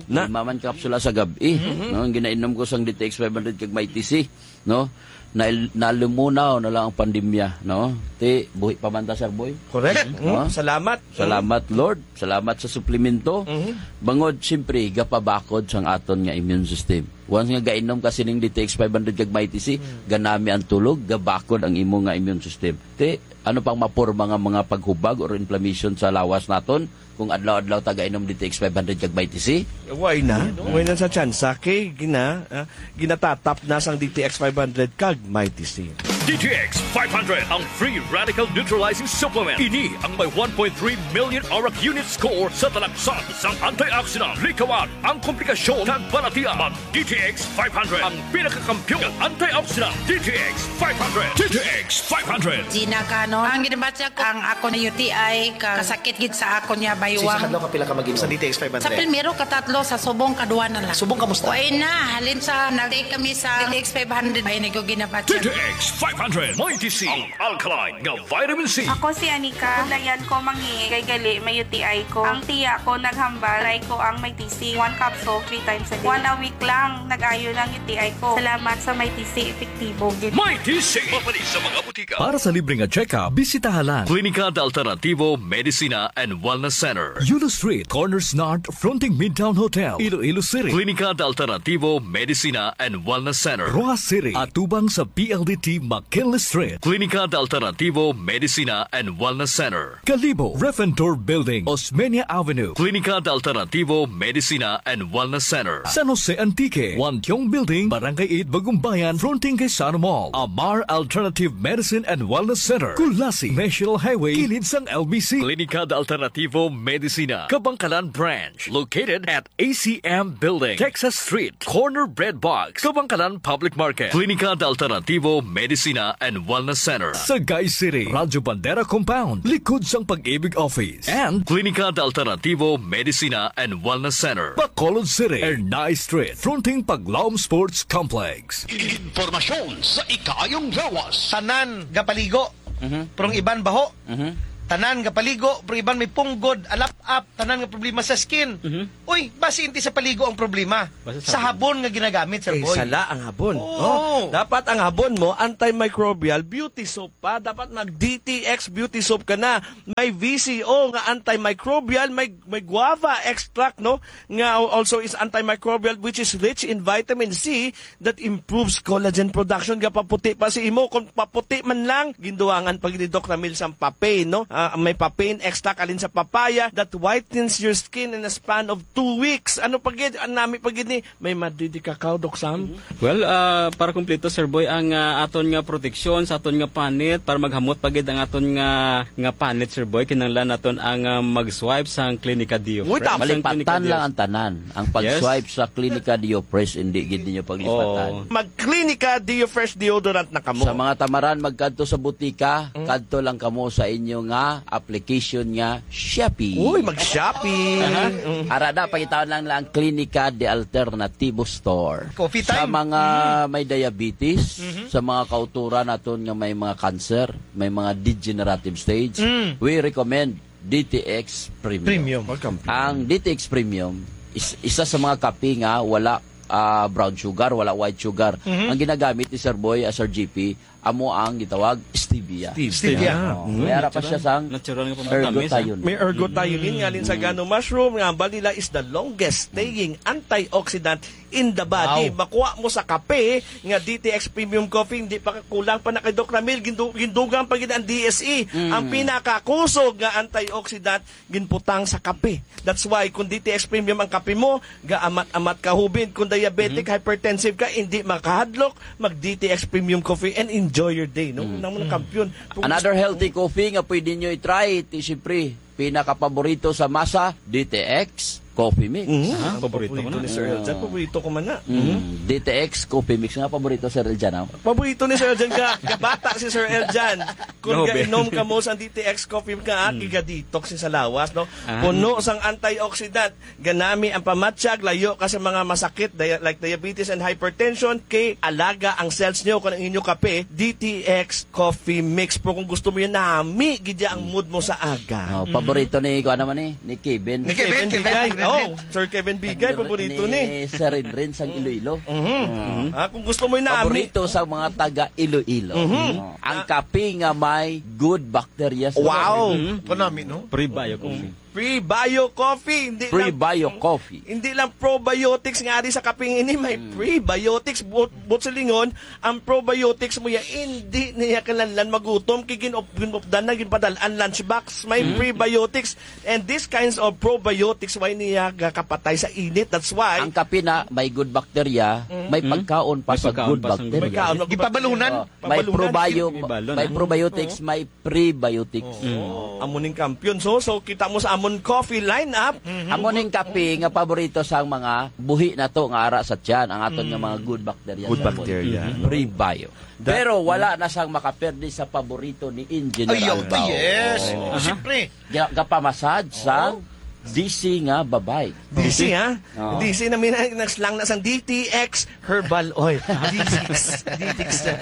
Na. Lima man kapsula sa gab-i, Mhm. no? Ang ginainom ko sang D T X five hundred kag Mighty C, no? Na, nalumunaw na lang ang pandemya, no? Ti, buhi pa man ta, Sir Boy. Correct. No? Mm. Salamat. Salamat, Lord. Salamat sa suplemento. Mhm. Bangod, siyempre, gapabakod sang aton nga immune system. Once nga gainom ka sining D T X five hundred kag Mighty C, Mm. ganami ang tulog, gabakod ang imo nga immune system. Ti, ano pang maporma nga mga paghubag or inflammation sa lawas naton kung adlaw-adlaw ta gainom D T X five hundred kag Mighty C? Why na? Why na sa tsansa? Kay gina-, ah, ginatatap na sang D T X five hundred kag Mighty C. D T X five hundred, ang free radical neutralizing supplement. Ini ang may one point three million ORAC unit score sa talaksan sang antioxidant. Likawan ang komplikasyon kag balatian. Mag D T X five hundred, ang pinakakampiyon nga antioxidant. D T X five hundred. D T X five hundred. Gina Canon. Ang ginabatya ko, ang ako na U T I, ka-, kasakit gid sa ako niya, Sa baywang. Isang adlaw, kapila ka mag-inom sa D T X five hundred? Sa primero, katatlo, sa subong, kadwa na lang. Subong, kamusta? Way na, halin sa nag-take kami sa D T X five hundred, ay, nag-, ginabatya. D T X five hundred, Mighty C, ang alkaline nga vitamin C. Ako si Anika. Bulayan ko, mangihi kay gali may U T I ko. Ang tiya ko naghambal, try ko ang Mighty C. One capsule, three times a day. One a week lang, nag-ayo lang U T I ko. Salamat sa Mighty C, epektibo gid. Mighty C, mapanis sa mga Para sa libre nga check-up, bisitaha lang Klinika de Alternativo Medicina and Wellness Center, Yulo Street, Corners North, fronting Midtown Hotel, Iloilo City. Klinika de Alternativo Medicina and Wellness Center, Roxas City, atubang sa P L D T McKinley Street. Klinika de Alternativo Medicina and Wellness Center, Kalibo, Refentor Building, Osmeña Avenue. Klinika de Alternativo Medicina and Wellness Center, San Jose Antique, Wantiong Building, Barangay eight, Bagumbayan, fronting kay Sano Mall. Amar Alternative Medicine and Wellness Center, Culasi, National Highway, kilid sang L B C. Klinika de Alternativo Medicina, Kabankalan Branch, located at A C M Building, Texas Street, corner Bread Box, Kabankalan Public Market. Klinika de Alternativo Medicina and Wellness Center, Sagay City, Radyo Bandera Compound, likod sang Pag-ibig Office. And Klinika de Alternativo Medicina and Wellness Center, Bacolod City, Ernai Street, fronting Paglaom Sports Complex. Impormasyon sa ikaayong lawas. Tanan gapaligo, Mhm. pero ang iban baho. Mhm. Tanan gapaligo, pero iban may punggod, alap-ap, tanan nga problema sa skin. Mhm. Uy, basi hindi sa paligo ang problema. Basta Sa sabon. Sabon nga ginagamit, Sir Eh, Boy. Sala ang habon. Oo. Oh, dapat ang habon mo, antimicrobial beauty soap pa. Dapat mag D T X beauty soap ka na. May V C O nga antimicrobial, may, may guava extract, no? Nga also is antimicrobial, which is rich in vitamin C that improves collagen production. Gapaputi pa si imo. Kung paputi man lang, ginduwangan pa gid ni Doc Ramil sang papain, no? Ah, may papain extract alin sa papaya that whitens your skin in a span of two weeks. Ano pa gid? Ang nami pa gid ni, may madidi ka, Doc Sam? Mhm. Well, ah, para kumpleto, Sir Boy, ang, ah, aton nga proteksyon sa aton nga panit, para maghamot pa gid ang aton nga, nga panit, Sir Boy, kinahanglan naton ang, ah, mag-swipe sang Klinika Deo Uy, Fresh. Tama. Sang Klinika Malipatan Deo. Lang ang tanan. Ang Yes. pag-swipe sa Klinika Deo Fresh, hindi gid ninyo paglipatan. Oo. Mag-Klinika Deo Fresh deodorant na kamo. Sa mga tamaran, magkadto sa butika, Mm. kadto lang kamo sa inyo nga application nga Shopee. Uy, mag-Shopee. Aha. Mm. Ara na, pangitaon lang lang Klinika de Alternativo Store. Coffee Sa time. mga Mm. may diabetes, Mhm. sa mga kauturan naton nga may mga cancer, may mga degenerative stage, Mm. we recommend D T X Premium. Premium. Welcome. Ang D T X Premium is isa sa mga kape nga wala, ah, brown sugar, wala white sugar. Mhm. Ang ginagamit ni Sir Boy, ah, Sir G P, amo ang gitawag stevia. Stevia. Stevia. Oh, Mm. may ara pa siya sang Natural nga pamatamis, ah. ergothioneine. May ergothioneine Mm. nga alin sa Mm. gano mushroom nga ang balila is the longest staying antioxidant in the body. Wow. Makuha mo sa kape nga D T X Premium Coffee, hindi pa kulang pa na kay Doc Ramil, gindu-, gindugang pa gid ang D S E. Mm. Ang pinakakusog nga antioxidant ginbutang sa kape. That's why kung D T X Premium ang kape mo, gaamat-amat ka hubin. Kung diabetic, Mhm. hypertensive ka, hindi makahadlok, mag D T X Premium Coffee and enjoy your day, no? Mm. Nang mga Mm. kampiyon. Kung Another gusto healthy coffee nga pwede nyo i-try, ti siyempre, pinakapaborito sa masa, D T X Coffee Mix. Mhm. Ah, Ang paborito ko paborito na. ni Sir Eljan. Ah. Paborito ko man na. Mm. Mhm. D T X Coffee Mix nga paborito, Sir Eljan, ah. Paborito ni Sir Eljan ka, kabata si Sir Eljan. Kung Grabe. gainom ka mo sa D T X Coffee ka, ah, Mm. kiga-detox ni sa lawas, no? Ah. Puno sang antioxidant. Ganami ang pamatyag, layo ka sa mga masakit, dia-, like diabetes and hypertension, kay alaga ang cells nyo kung ang inyo kape, D T X Coffee Mix. Pero kung gusto mo yun, nami, gidya ang mood mo sa aga. Oh, Mm. paborito ni, kung ano man eh, ni Kevin. Ni Kevin, Kevin Kevin, Bigay. Kevin. Oh, Sir Kevin Bigay, Ni, paborito ni ni. Sir Rinrin sang Mm. Iloilo. Mhm. Mm. Ah, kung gusto mo yun, nami. Paborito sa mga taga Iloilo. Mhm. Oh. Ang Ah. kape nga may good bacteria sa Wow. loob. Mhm. Kanami, no? Prebio coffee. Prebio coffee, hindi lang Prebio coffee. hindi lang probiotics nga ari sa kape ini, may Mm. prebiotics. But, but sa lingon, ang probiotics mo ya, hindi niya kinahanglan magutom, kay gin-, gin-, ginupdan na, ginpadal-an lunchbox, may Mm. prebiotics. And these kinds of probiotics, why niya gakapatay sa init? That's why Ang kape na may good bacteria, Mm. may Mm. pagkaon pa May sa pagkaon good pa sa bacteria. May kaon, Gipabalunan? Oh, may Pabalunan. probio-, May balon, may ah. probiotics, Oo. may prebiotics. Oo. Mm. Amo ning kampiyon. So, so kita mo sa amon coffee lineup. Mhm. Amo ning kape nga paborito sa mga buhi nato nga ara sa tiyan, ang aton nga Mm. mga good bacteria Good sa bacteria. Mm. Prebio. That Pero wala na sang makaperde sa paborito ni Engineer Ay, yo, Albao. yes. Oo. Aha. Siyempre. Ga-, gapamassage sa Oo. D C nga babay. D C, ha? Oo. D C na mina-, nagslang na sang D T X Herbal Oil. D T X, D T X. Ha?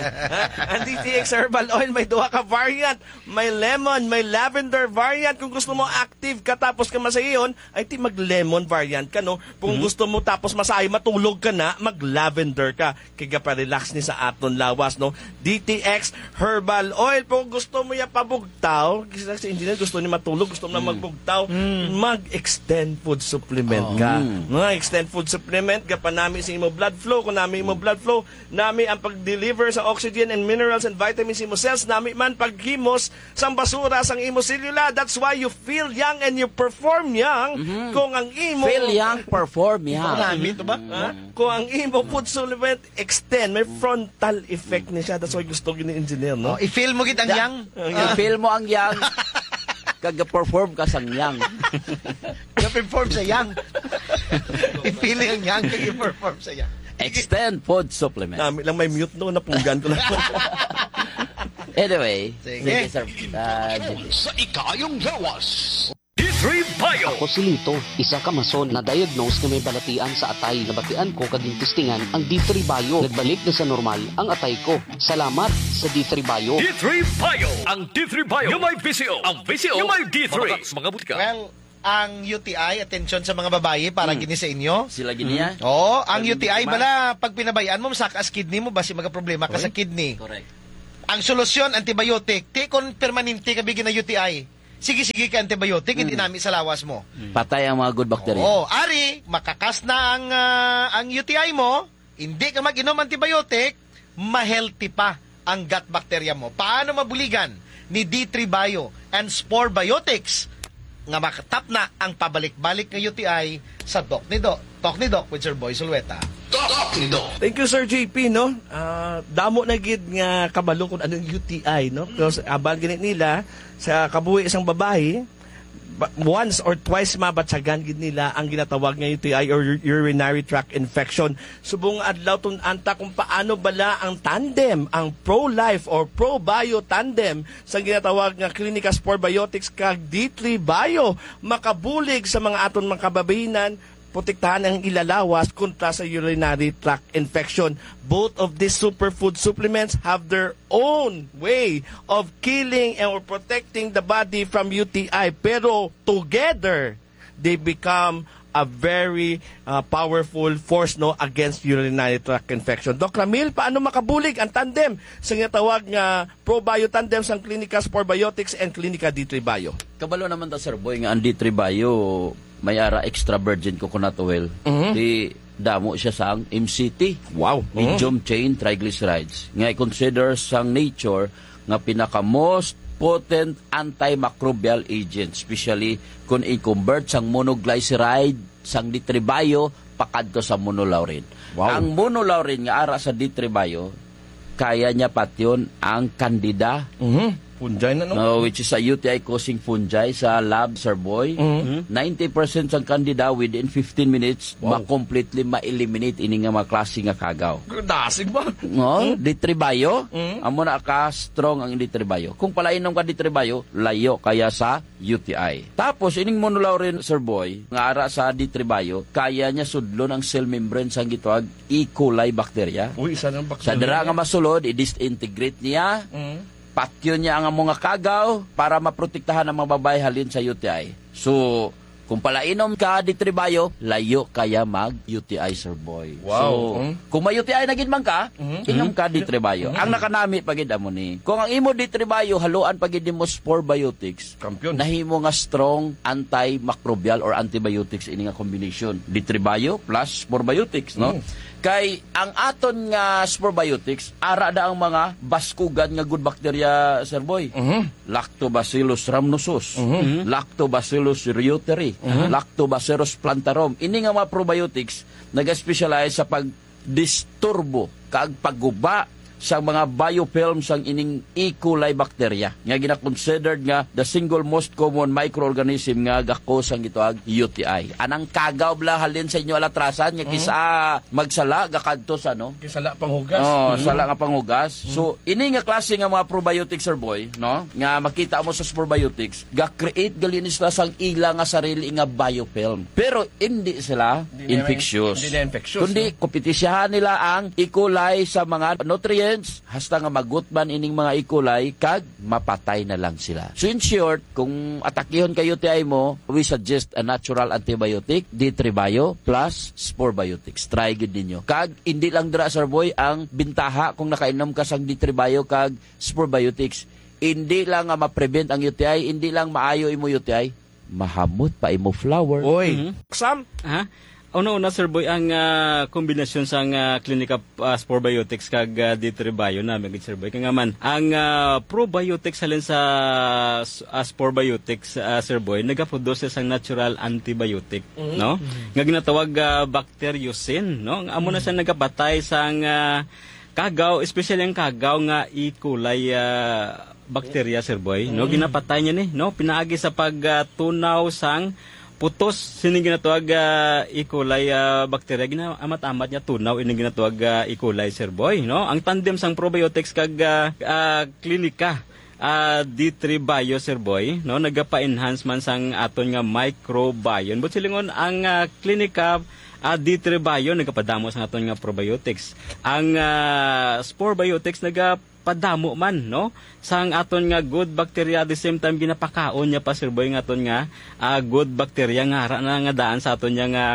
Ang D T X Herbal Oil, may duha ka variant. May lemon, may lavender variant. Kung gusto mo active ka tapos ka masayon, ay ti mag-lemon variant ka, no? Kung Mhm. gusto mo tapos masayo, matulog ka na, mag-lavender ka. Kay gapa-relax ni sa aton lawas, no? D T X Herbal Oil. Kung gusto mo ya pabugtaw, kasi si engineer gusto ni matulog, gusto mo na Mm. magbugtaw, Mm. mag-extend food supplement Oh. ka. Mm. Mga extend food supplement, gapanami sa imo blood flow. Kung nami imo Mm. blood flow, nami ang pag-deliver sa oxygen and minerals and vitamins sa imo cells, nami man paghimos sang basura sang imo selula. That's why you feel young and you perform young. Mhm. Kung ang imo Feel young, perform young. Marami to ba? Ha? Kung ang imo food supplement extend, may frontal effect ni siya. That's why gusto gini engineer, no? Oh, i-feel mo gid ang Yeah. yang. Ang yang. I-feel mo ang yang. Kag perform ka sang yang. Ga-perform sa yang. I-feel ang yang, kag i-perform sa yang. Extend food supplement. Nami lang may mute, no? Napunggan ko lang. Anyway, Sige. sige, sir. Ah, G P. Sa ikayong lawas. D three Bio. Ako si Lito, isa ka mason na diagnose nga may balatian sa atay. Nabatian ko kag gintistingan ang D three Bio. Nagbalik na sa normal ang atay ko. Salamat sa D three Bio. D three Bio. Ang D three Bio nga may V C O. Ang V C O nga may D three. Mga butika. Well, ang U T I, atensyon sa mga babayi, para Hmm. gini sa inyo. Sila gini, ah. Oo, ang Ang U T I, problema. bala, pag pinabayaan mo, masakas kidney mo, basi magaproblema ka sa Correct. kidney. Correct. Ang solusyon, antibiotic. Ti kon permanente ka bigyan ng U T I, sige-sige ka antibiotic, hindi Hmm. nami sa lawas mo. Hmm. Patay ang mga good bacteria. Oo, ari, makakas na ang, ah, ang U T I mo, hindi ka mag-inom antibiotic, ma-healthy pa ang gut bacteria mo. Paano mabuligan ni D three Bio and Spore Biotics nga makatap na ang pabalik-balik nga U T I sa Doc ni Doc? Talk ni Doc with Sir Boy Zulueta. Talk ni Doc. Thank you, Sir J P, no? Ah, damo na gid nga kabalo kung anong U T I, no? Because abal gani nila sa kabuhi sang babayi, ba-, once or twice mabatyagan gid nila ang ginatawag nga U T I or ur-, urinary tract infection. Subong adlaw tun-an ta kung paano bala ang tandem, ang Pro Life or Pro Bio tandem sa ginatawag nga Clinica Spore Biotics kag D three Bio makabulig sa mga aton mga kababayinan, protektahan ang ila lawas kontra sa urinary tract infection. Both of these superfood supplements have their own way of killing and or protecting the body from U T I. Pero together, they become a very, uh, powerful force, no, against urinary tract infection. Doc Ramil, paano makabulig ang tandem sa ginatawag nga Pro Bio tandem sang Clinica Spore Biotics and Clinica D three Bio? Kabalo naman ta, Sir Boy, nga ang D three Bio may ara extra virgin coconut oil. Mhm. Di damo siya sang M C T. Wow. Medium Mhm. chain triglycerides. Nga i-consider sang nature nga pinaka most potent antimicrobial agent, especially kung i-convert sang monoglyceride sang D three Bio pakadto sa monolaurin. Wow. Ang monolaurin nga ara sa D three Bio, kaya niya patyon ang candida. Mhm. Fungi na, no? No, which is a U T I causing fungi sa lab, Sir Boy. Mhm. Ninety percent sang candida within fifteen minutes, Wow. ma-completely ma-eliminate ini nga mga klase nga kagaw. Dasig ba? No, Mm. D three Bio, Mm. amo na ka strong ang D three Bio. Kung palainom ka D three Bio, layo kaya sa U T I. Tapos, ining monolaurin, Sir Boy, nga ara sa D three Bio, kaya niya sudlon ang cell membrane sang gitawag E. coli bacteria. Uy, isa ng Sa bacteria dira nga niya. masulod, i-disintegrate niya, Mm. patyon niya ang mga kagaw para maprotektahan ang mga babae halin sa U T I. So, kung palainom ka D three Bio, layo kaya mag U T I, Sir Boy. Wow. So, Mm. kung may U T I na gid man ka, Mm. inom ka D three Bio. Mm. Ang nakanami pa gid amo ni, kung ang imo D three Bio, haluan pa gid nimo Spore Biotics, Kampiyon. nahimo nga strong antimicrobial or antibiotics ini nga combination. D three Bio plus Spore Biotics, no? Mm. Kay ang aton nga Spore Biotics, ara da ang mga baskugan nga good bacteria, Sir Boy. Mhm. Lactobacillus rhamnosus, Mhm. Lactobacillus reuteri, Mhm. Lactobacillus plantarum. Ini nga mga probiotics nag-specialize sa pagdisturbo kag pagguba sa mga biofilm sang ining E. coli bacteria nga gina-considered nga the single most common microorganism nga gakos sang gitawag U T I. Anang kagaw bala halin sa inyo alatrasan nga kisa magsala gakadto sa, no? Kisa sala panghugas. Oh, sala nga panghugas. So, ini nga klase nga mga probiotics, Sir Boy, no? Nga makita mo sa probiotics, ga-create gali ni sila sang ila nga sarili nga biofilm. Pero hindi sila Hindi na infectious. Hindi na infectious, Kundi no? kompetisyahan nila ang E. coli sa mga nutrients, hasta nga magutman ining mga E. coli kag mapatay na lang sila. So, in short, kung atakihon ka U T I mo, we suggest a natural antibiotic, D three Bio plus Spore Biotics. Try gid ninyo. Kag hindi lang dira, Sir Boy, ang bintaha kung nakainom ka sang D three Bio kag Spore Biotics. Hindi lang nga ma-prevent ang U T I, hindi lang maayo imo U T I, mahamot pa imo flower. Oy. Mhm. Sam? Aha. Una-una, Sir Boy, ang, ah, kombinasyon sang, ah, Clinica, ah, Spore Biotics kag, ah, D three Bio na, mga Sir Boy. Kaya nga man, ang, ah, probiotics halin sa s-, ah, Spore Biotics, ah, Sir Boy, nagaproduce sang natural antibiotic, no? Nga ginatawag, ah, bacteriocin, no? Amo na siya nagapatay sang, ah, kagaw, especially ang kagaw nga E. coli, ah, bacteria, Sir Boy, no? Ginapatay niya ni, no? Pinaagi sa pag, ah, tunaw sang putos sining ginatawag, ah, E. coli, ah, bacteria, ginaamat-amat niya tunaw ining ginatawag, ah, E. coli, Sir Boy, no? Ang tandem sang probiotics kag, ah, ah, klinika, ah, D three Bio, Sir Boy, no? Nagapa-enhance man sang aton nga microbiome. But silingon ang, ah, klinika, ah, D three Bio nagapadamo sang aton nga probiotics. Ang, ah, Spore Biotics naga padamo man, no? Sang aton nga good bacteria, at the same time, ginapakaon niya pa, Sir Boy, nga aton nga, ah, good bacteria nga ara na nga daan sa aton nga, nga,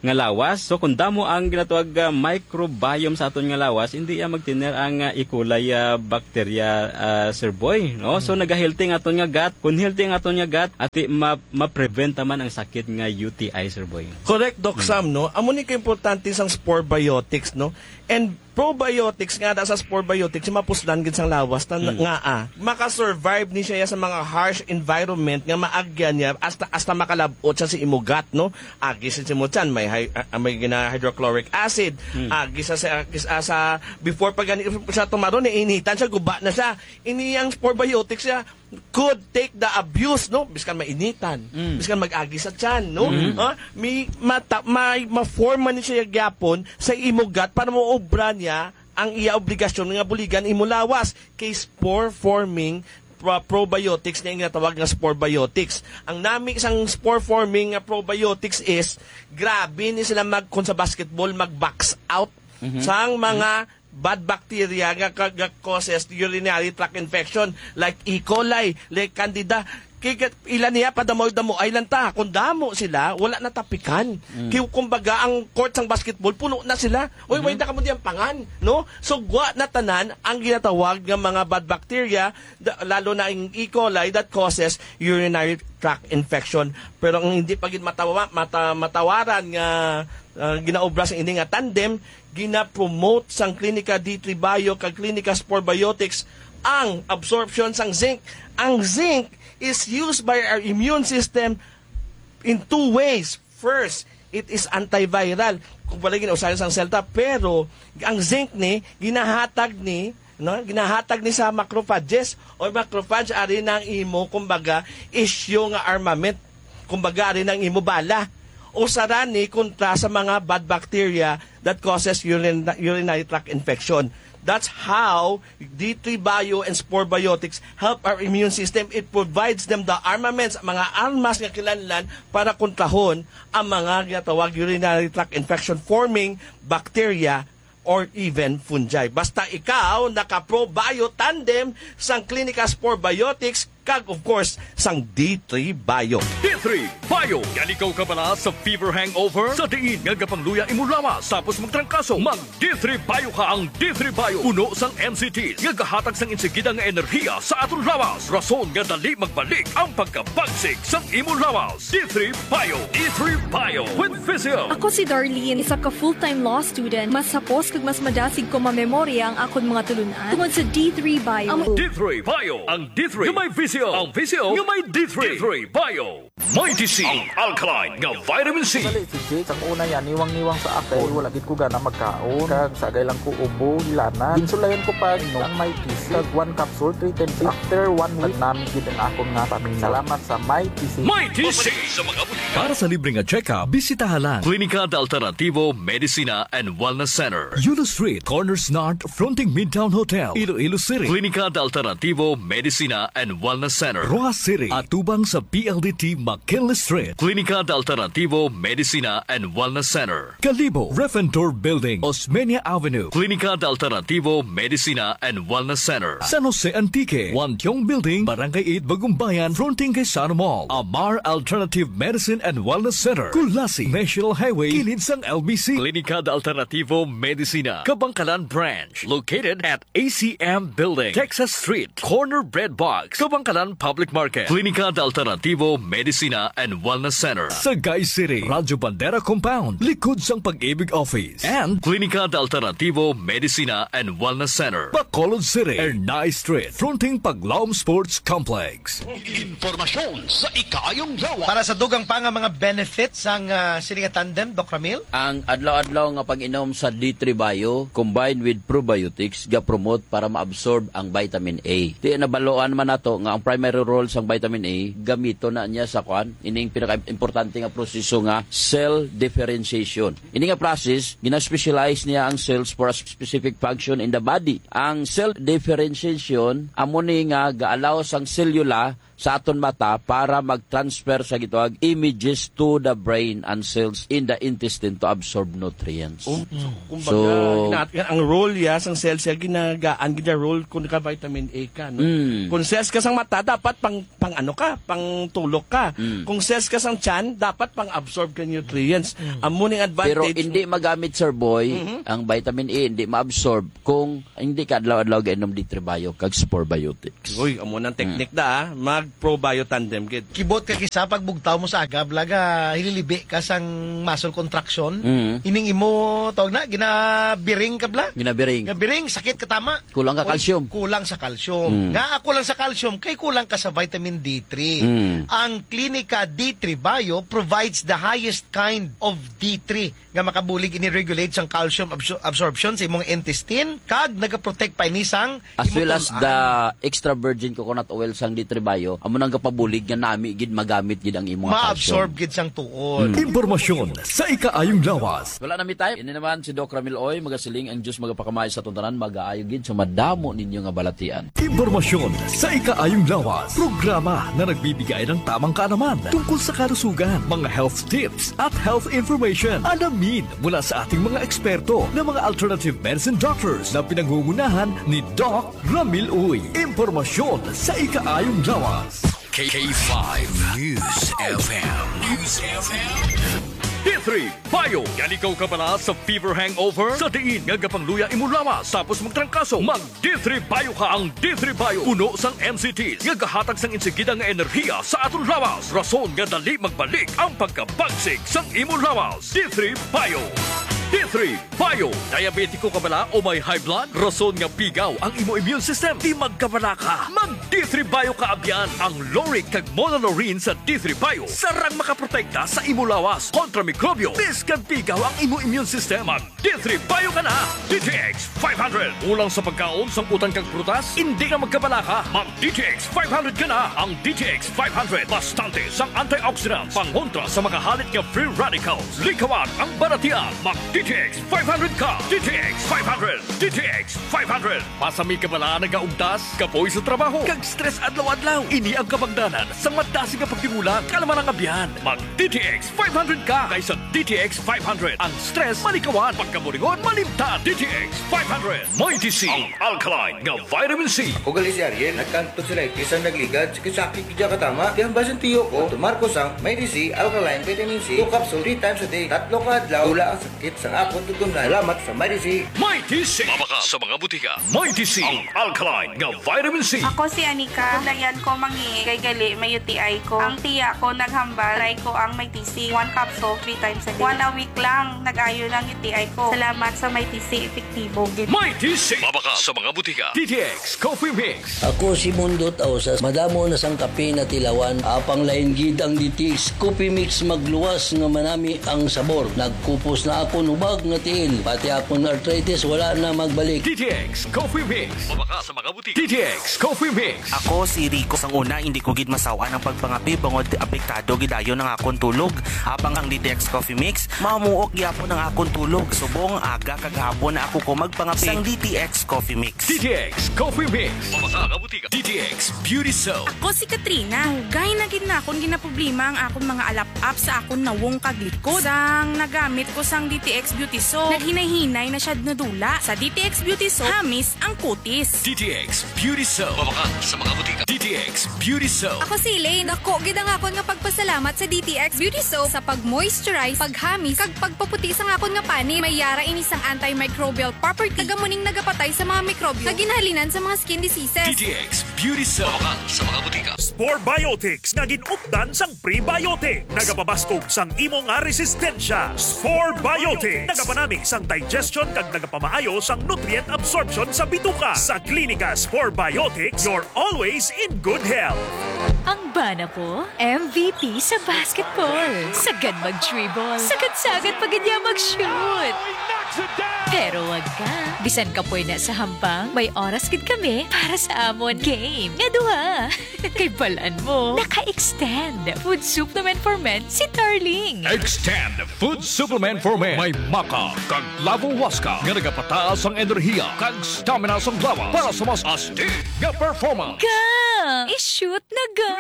nga lawas. So, kung damo ang ginatawag, ah, microbiome sa aton nga lawas, hindi iya magtener ang, ah, E. coli, ah, bacteria, ah, Sir Boy, no? So, nagahealthy ang aton nga gut. Kung healthy ang aton nga gut, ati ma-, ma-prevent naman ang sakit nga U T I, Sir Boy. Correct, Doc Sam, no? Amo ni kaimportante sang spore biotics, no? And probiotics nga da sa spore biotics, mapuslan gid sang lawas ta nga, ah, maka-survive ni siya sa mga harsh environment nga maagyan niya hasta, hasta makalab-ot siya sa imo gut, no? Agi sa imo tiyan, may hy-, ah, may gina hydrochloric acid, agi sa, sa, sa, sa, before pa gani siya tumaron, initan siya, guba na siya. Ini ang spore biotics siya, could take the abuse, no? Biskan mainitan, biskan mag-agi sa tiyan, no? Ha? May mata-, may ma-form man siya gyapon sa imo gut para maobra niya ang iya obligasyon nga buligan imo lawas kay spore forming pro-, probiotics nga ginatawag nga spore biotics. Ang nami sang spore forming nga probiotics is grabe ni sila mag, kung sa basketball, mag-box out sang mga bad bacteria nga ka-, nga causes urinary tract infection, like E. coli, like Candida. Kay ka-, ila niya, padamo-damo ay lang ta. Kung damo sila, wala na tapikan. Kay kumbaga, ang court sang basketball, puno na sila. Uy, way na kamo diyang pangan, no? So, gwa na tanan ang ginatawag nga mga bad bacteria, da-, lalo na ang E. coli that causes urinary tract infection. Pero ang hindi pa gid matawa-, mata-, matawaran nga, ah, ginaobra sa ini nga tandem, gina-promote sang Klinika D three Bio kag Klinika Spore Biotics ang absorption sang zinc. Ang zinc is used by our immune system in two ways. First, it is antiviral. Kung wala gina-usahay sang selta, pero ang zinc ni, ginahatag ni, no? Ginahatag ni sa macrophages. O macrophage, ari na ang imo, kumbaga, issue nga armament. Kumbaga, ari na ang imo bala. Usa ra ni kontra sa mga bad bacteria that causes urin-, urinary tract infection. That's how D three Bio and Spore Biotics help our immune system. It provides them the armaments, mga armas nga kinahanglan para kontrahon ang mga ginatawag urinary tract infection forming bacteria or even fungi. Basta ikaw naka-Pro Bio Tandem sang Clinica Spore Biotics kag, of course, sang D three Bio. D three Bio. Yan ikaw kabala sa fever hangover? Sa diin nga gapangluya imo lawas tapos magtrangkaso? Mag D three Bio ka. Ang D three Bio puno sang N C Ts nga gahatag sang insigida nga enerhiya sa aton lawas, rason nga dali magbalik ang pagkabagsik sang imo lawas. D three Bio. D three Bio with Visil. Ako si Darlene, isa ka full-time law student. Mas hapos kag mas madasig ko mamemorya ang akon mga tulunan tungod sa D three Bio. Amo D three Bio. Ang D three nga may Visil. Ang Visil nga may D three. D three Bio. Mighty C, ang alkaline nga vitamin C. Bali, si Jake, sang una yan, niwang-niwang sa akon. Wala gid ko gana magkaon. Kag sagay lang ko ubo, hilanan. Ginsulayan ko pa inom ang Mighty C. Kag one capsule, three times. After one week, nagnami gid ang akon nga pamina. Salamat sa Mighty C. Mighty C. Sa mga butiki. Para sa libre nga check-up, bisitaha lang Klinika de Alternativo Medicina and Wellness Center. Yulo Street, Corners North, fronting Midtown Hotel, Iloilo City. Klinika de Alternativo Medicina and Wellness Center. Roxas City, atubang sa P L D T McKinley Street. Klinika de Alternativo Medicina and Wellness Center. Kalibo, Refentor Building, Osmeña Avenue. Klinika de Alternativo Medicina and Wellness Center. San Jose Antique, Wantiong Building, Barangay eight, Bagumbayan, fronting kay Sano Mall. Amar Alternative Medicine and Wellness Center, Culasi, National Highway, kilid sang L B C. Klinika de Alternativo Medicina, Kabangkalan Branch, located at A C M Building, Texas Street, corner Bread Box, Kabangkalan Public Market. Klinika de Alternativo Medicina and Wellness Center, Sagay City, Radyo Bandera Compound, likod sang Pag-ibig Office. And Klinika de Alternativo Medicina and Wellness Center, Bacolod City, Ernai Street, fronting Paglaom Sports Complex. Impormasyon sa ikaayong lawas. Para sa dugang pa nga mga benefits sang, ah, sini nga tandem, Doc Ramil? Ang adlaw-adlaw nga pag-inom sa D three Bio combined with probiotics ga-promote para ma-absorb ang vitamin A. Ti nabaluan man nato nga ang primary role sang vitamin A, gamiton na niya sa kwan, ining pinaka-importante nga proseso nga cell differentiation. Ini nga process, gina-specialize niya ang cells for a specific function in the body. Ang cell differentiation, amo ni nga ga-allow sang selula sa aton mata para mag-transfer sa gitawag images to the brain and cells in the intestine to absorb nutrients. Oh, so, kumbaga, So, gina-, ang role ya sang cells ya ginagaan gid ya role kung naka-vitamin A ka, no? Mm. Kung cells ka sang mata, dapat pang, pang ano ka, pang tulok ka. Mm. Kung cells ka sang tiyan, dapat pang-absorb ka nutrients. Mm. Amo ning Pero advantage. Hindi magamit, Sir Boy, Mhm. ang vitamin A, hindi ma-absorb kung hindi ka adlaw-adlaw gainom D three Bio kag Spore Biotics. Uy, amo nang technique Mm. da, ah. Mag Pro Bio Tandem gid. Kibot ka kisa pag bugtaw mo sa aga, bala, ga hililibi ka sang muscle contraction. Mm. Ining imo, tawag na, ginabiring ka, bala? Ginabiring. Ginabiring, sakit ka tama. Kulang ka Kul-, calcium. Kulang sa calcium. Mm. Nga kulang sa calcium, kay kulang ka sa vitamin D three. Mm. Ang Klinika D three Bio provides the highest kind of D three nga makabulig ini regulate sang calcium absor-, absorption sa imong intestine, kag nagaprotect pa ini sang As imo well as tun-an. The extra virgin coconut oil sang D three Bio, amo nang gapabulig nga nami gid magamit gid ang imong calcium. Ma-absorb gid sang tuod. Mm. Impormasyon sa ikaayong lawas. Wala na mi time. Ini naman si Doc Ramil Oy, magasiling ang Diyos magapakamay sa aton tanan, magaayo gid sa madamo ninyo nga balatian. Impormasyon sa ikaayong lawas. Programa na nagbibigay ng tamang kaalaman tungkol sa kalusugan, mga health tips, at health information. Alamin mula sa ating mga eksperto na mga alternative medicine doctors na pinangungunahan ni Doc Ramil Uy. Impormasyon sa ikaayong lawas. K five News F M. News F M. D three Bio. Yan ikaw kabala sa fever hangover? Sa diin nga gapangluya imo lawas tapos magtrangkaso, mag D three Bio ka. Ang D three Bio puno sang M C Ts nga gahatag sang insigida nga enerhiya sa aton lawas, rason nga dali magbalik ang pagkabagsik sang imo lawas. D three Bio. D three Bio. Diabetiko ka bala o may high blood? Rason nga pigaw ang imo immune system. Di magkabala ka. Mag D three Bio ka, abyan. Ang lauric kag monolaurin sa D three Bio sarang makaprotekta sa imo lawas kontra mikrobyo. Bisan pigaw ang imo immune system, mag D three Bio ka na. D T X five hundred. Kulang sa pagkaon, sang utan kag prutas? Indi na magkabala ka. Mag D T X five hundred ka na. Ang D T X five hundred, bastante sang antioxidants, pangontra sa mga halit nga free radicals. Likawan ang balatian. Mag D T X five hundred ka. D T X five hundred. D T X five hundred. Basi may kabala, nagaugdas, kapoy sa trabaho, kag stress adlaw-adlaw. Ini ang kabangdanan sang madasig nga pagtigulang, kaalaman ang abyan. Mag D T X five hundred ka, kay sa D T X five hundred, ang stress malikawan, pagkaburingon malimtan. D T X five hundred. Mighty C, ang alkaline nga vitamin C. Ako gali si Ariel, nagkantog sa lightis ang nagligad, sakit-sakit gid katama. Kaya ang basin tiyo ko, tumarko sang Mighty C alkaline vitamin C, two capsule, three times a day. Tatlo ka adlaw, wala ang sakit sa Ako tugon na salamat sa Mighty C. Mighty C. Mabakal sa mga butika. Mighty C, ang alkaline nga vitamin C. Ako si Anika. Dayan ko mangi kay gali may U T I ko. Ang tiya ko naghambal, try ko ang Mighty C. One capsule, three times a day. One a week lang, nag-ayo lang U T I ko. Salamat sa Mighty C, epektibo gid. Mighty C. Mabakal sa mga butika. D T X Coffee Mix. Ako si Mundo Tausas. Madamo na sang kape natilawan, apang lain gid ang D T X Coffee Mix, magluwas nga manami ang sabor. Nagkupos na akon hubag nga tiil, pati akon arthritis wala na magbalik. D T X Coffee Mix. Mabakal sa mga butika. D T X Coffee Mix. Ako si Rico. Sang una, hindi ko gid masaw-an ang pagpangape bangod apektado gid dayon ang akon tulog. Apang ang D T X Coffee Mix, mamuok gyapon ang akon tulog. Subong aga kag hapon na ako ko magpangape. Sang D T X Coffee Mix. D T X Coffee Mix. Mabakal sa mga butika. D T X Beauty Soap. Ako si Katrina. Dugay na gid na akon ginaproblema ang akon mga alap-ap sa akon nawong kag likod. Sang nagamit ko sang D T X Beauty Soap, naghinay-hinay na siya nadula. Sa D T X Beauty Soap, hamis ang kutis. D T X Beauty Soap. Mabakal sa mga butika. D T X Beauty Soap. Ako si Elaine. Dako gid ang akon nga pagpasalamat sa D T X Beauty Soap sa pag-moisturize, paghamis, kag pagpaputi sang akon nga panit. May yara ini sang antimicrobial property. Taga muning nagapatay sa mga mikrobyo nga ginhalinan sa mga skin diseases. D T X Beauty Soap. Mabakal sa mga butika. Spore Biotics nga gin-updan sang prebiotic. Nagapabaskog sang imo nga resistensya. Spore Biotic. Nagapanami sang digestion kag nagapamaayo sang nutrient absorption sa bituka. Sa Klinika Spore Biotics, you're always in good health. Ang bana ko, M V P sa basketball. Sagad mag-dribble. Sagad-sagad pa gid niya mag-shoot. Pero wag ka. Bisan kapoy na sa hampang, may oras gid kami para sa amon game nga duha. Kay balan mo, naka-extend food supplement for men si Darling. Extend food supplement for men. May maca kag lavo huasca nga nagapataas ang enerhiya kag stamina sang lawas para sa mas astig nga performance. Ga! I-shoot na ga!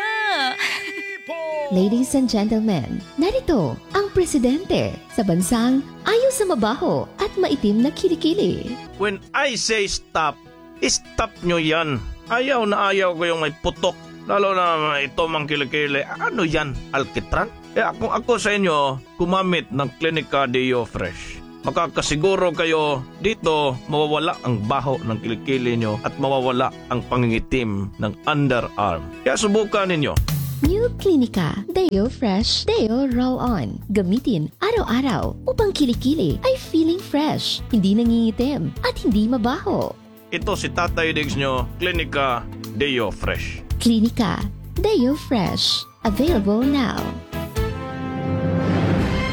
Ladies and gentlemen, narito ang presidente sa bansang ayo sa mabaho at maitim na kilikili. When I say stop, stop nyo yan. Ayaw na ayaw ko yung may putok. Lalo na ito mang kilikili. Ano yan? Alkitran? Kaya kung ako sa inyo, gumamit ng Clinica Deo Fresh. Makakasiguro kayo dito mawawala ang baho ng kilikili nyo at mawawala ang pangingitim ng underarm. Kaya subukan ninyo. New Clinica Deo Fresh Deo Roll On. Gamitin araw-araw upang kilikili ay feeling fresh, hindi nangingitim, at hindi mabaho. Ito si Tatay Diggs nyo, Klinika Deo Fresh. Klinika Deo Fresh. Available now.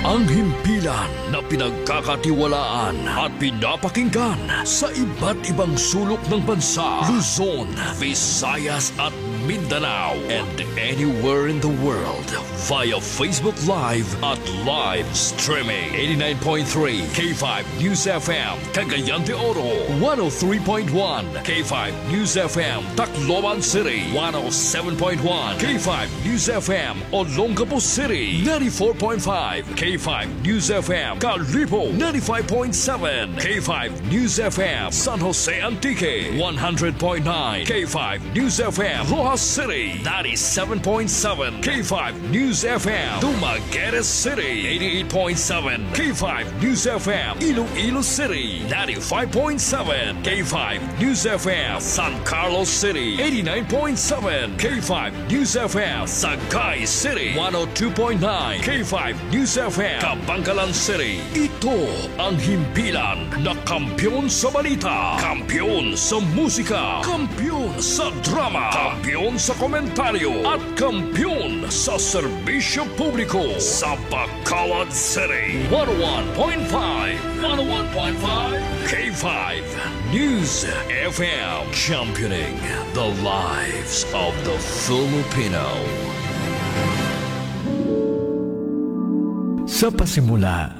Ang himpilan na pinagkakatiwalaan at pinapakinggan sa iba't ibang sulok ng bansa, Luzon, Visayas at Mindanao, and anywhere in the world via Facebook Live at live streaming. Eighty-nine point three K five News F M, Cagayan de Oro, one oh three point one K five News F M, Tacloban City, one oh seven point one K five News F M, Olongapo City, ninety-four point five K five News F M, Kalibo, ninety-five point seven K five News F M, San Jose Antique, one hundred point nine K five News F M, Roxas City, ninety-seven point seven K five News F M, Dumaguete City, eighty-eight point seven K five News F M, Iloilo City, ninety-five point seven K five News F M, San Carlos City, eighty-nine point seven K five News F M, Sagay City, one oh two point nine K five News F M, Kabankalan City. Ito ang himpilan na kampiyon sa balita, kampiyon sa musika, kampiyon sa drama, kampiyon sa komentaryo, at kampiyon sa serbisyo publiko sa Bacolod City. One oh one point five, one oh one point five K five News F M, championing the lives of the Filipino. Sa pasimula,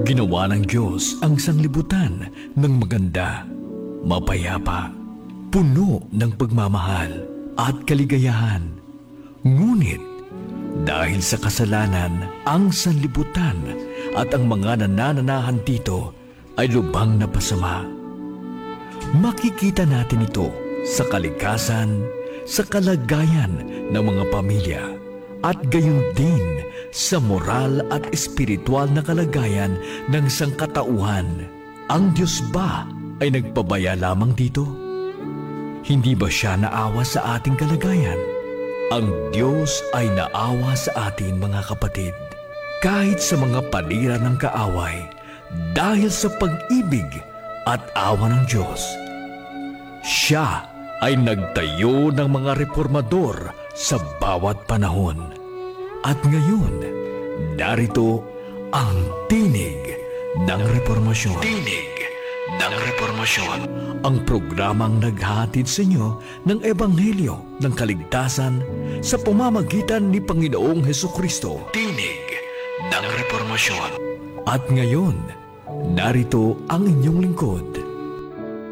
ginawa ng Diyos ang sanglibutan ng maganda, mapayapa, puno ng pagmamahal at kaligayahan. Ngunit, dahil sa kasalanan, ang sanlibutan at ang mga nanananahan dito ay lubhang napasama. Makikita natin ito sa kalikasan, sa kalagayan ng mga pamilya, at gayon din sa moral at espiritual na kalagayan ng sangkatauhan. Ang Dios ba ay nagpabaya lamang dito? Hindi ba siya naawa sa ating kalagayan? Ang Dios ay naawa sa atin, mga kapatid, kahit sa mga panira ng kaaway, dahil sa pag-ibig at awa ng Dios. Siya ay nagtayo ng mga reformador sa bawat panahon. At ngayon, narito ang Tinig ng Reformasyon. Tinig ng Reformasyon. Ang programang naghahatid sa inyo ng Ebanghelyo ng kaligtasan sa pamamagitan ni Panginoong Hesukristo. Tinig ng Reformasyon. At ngayon, narito ang inyong lingkod,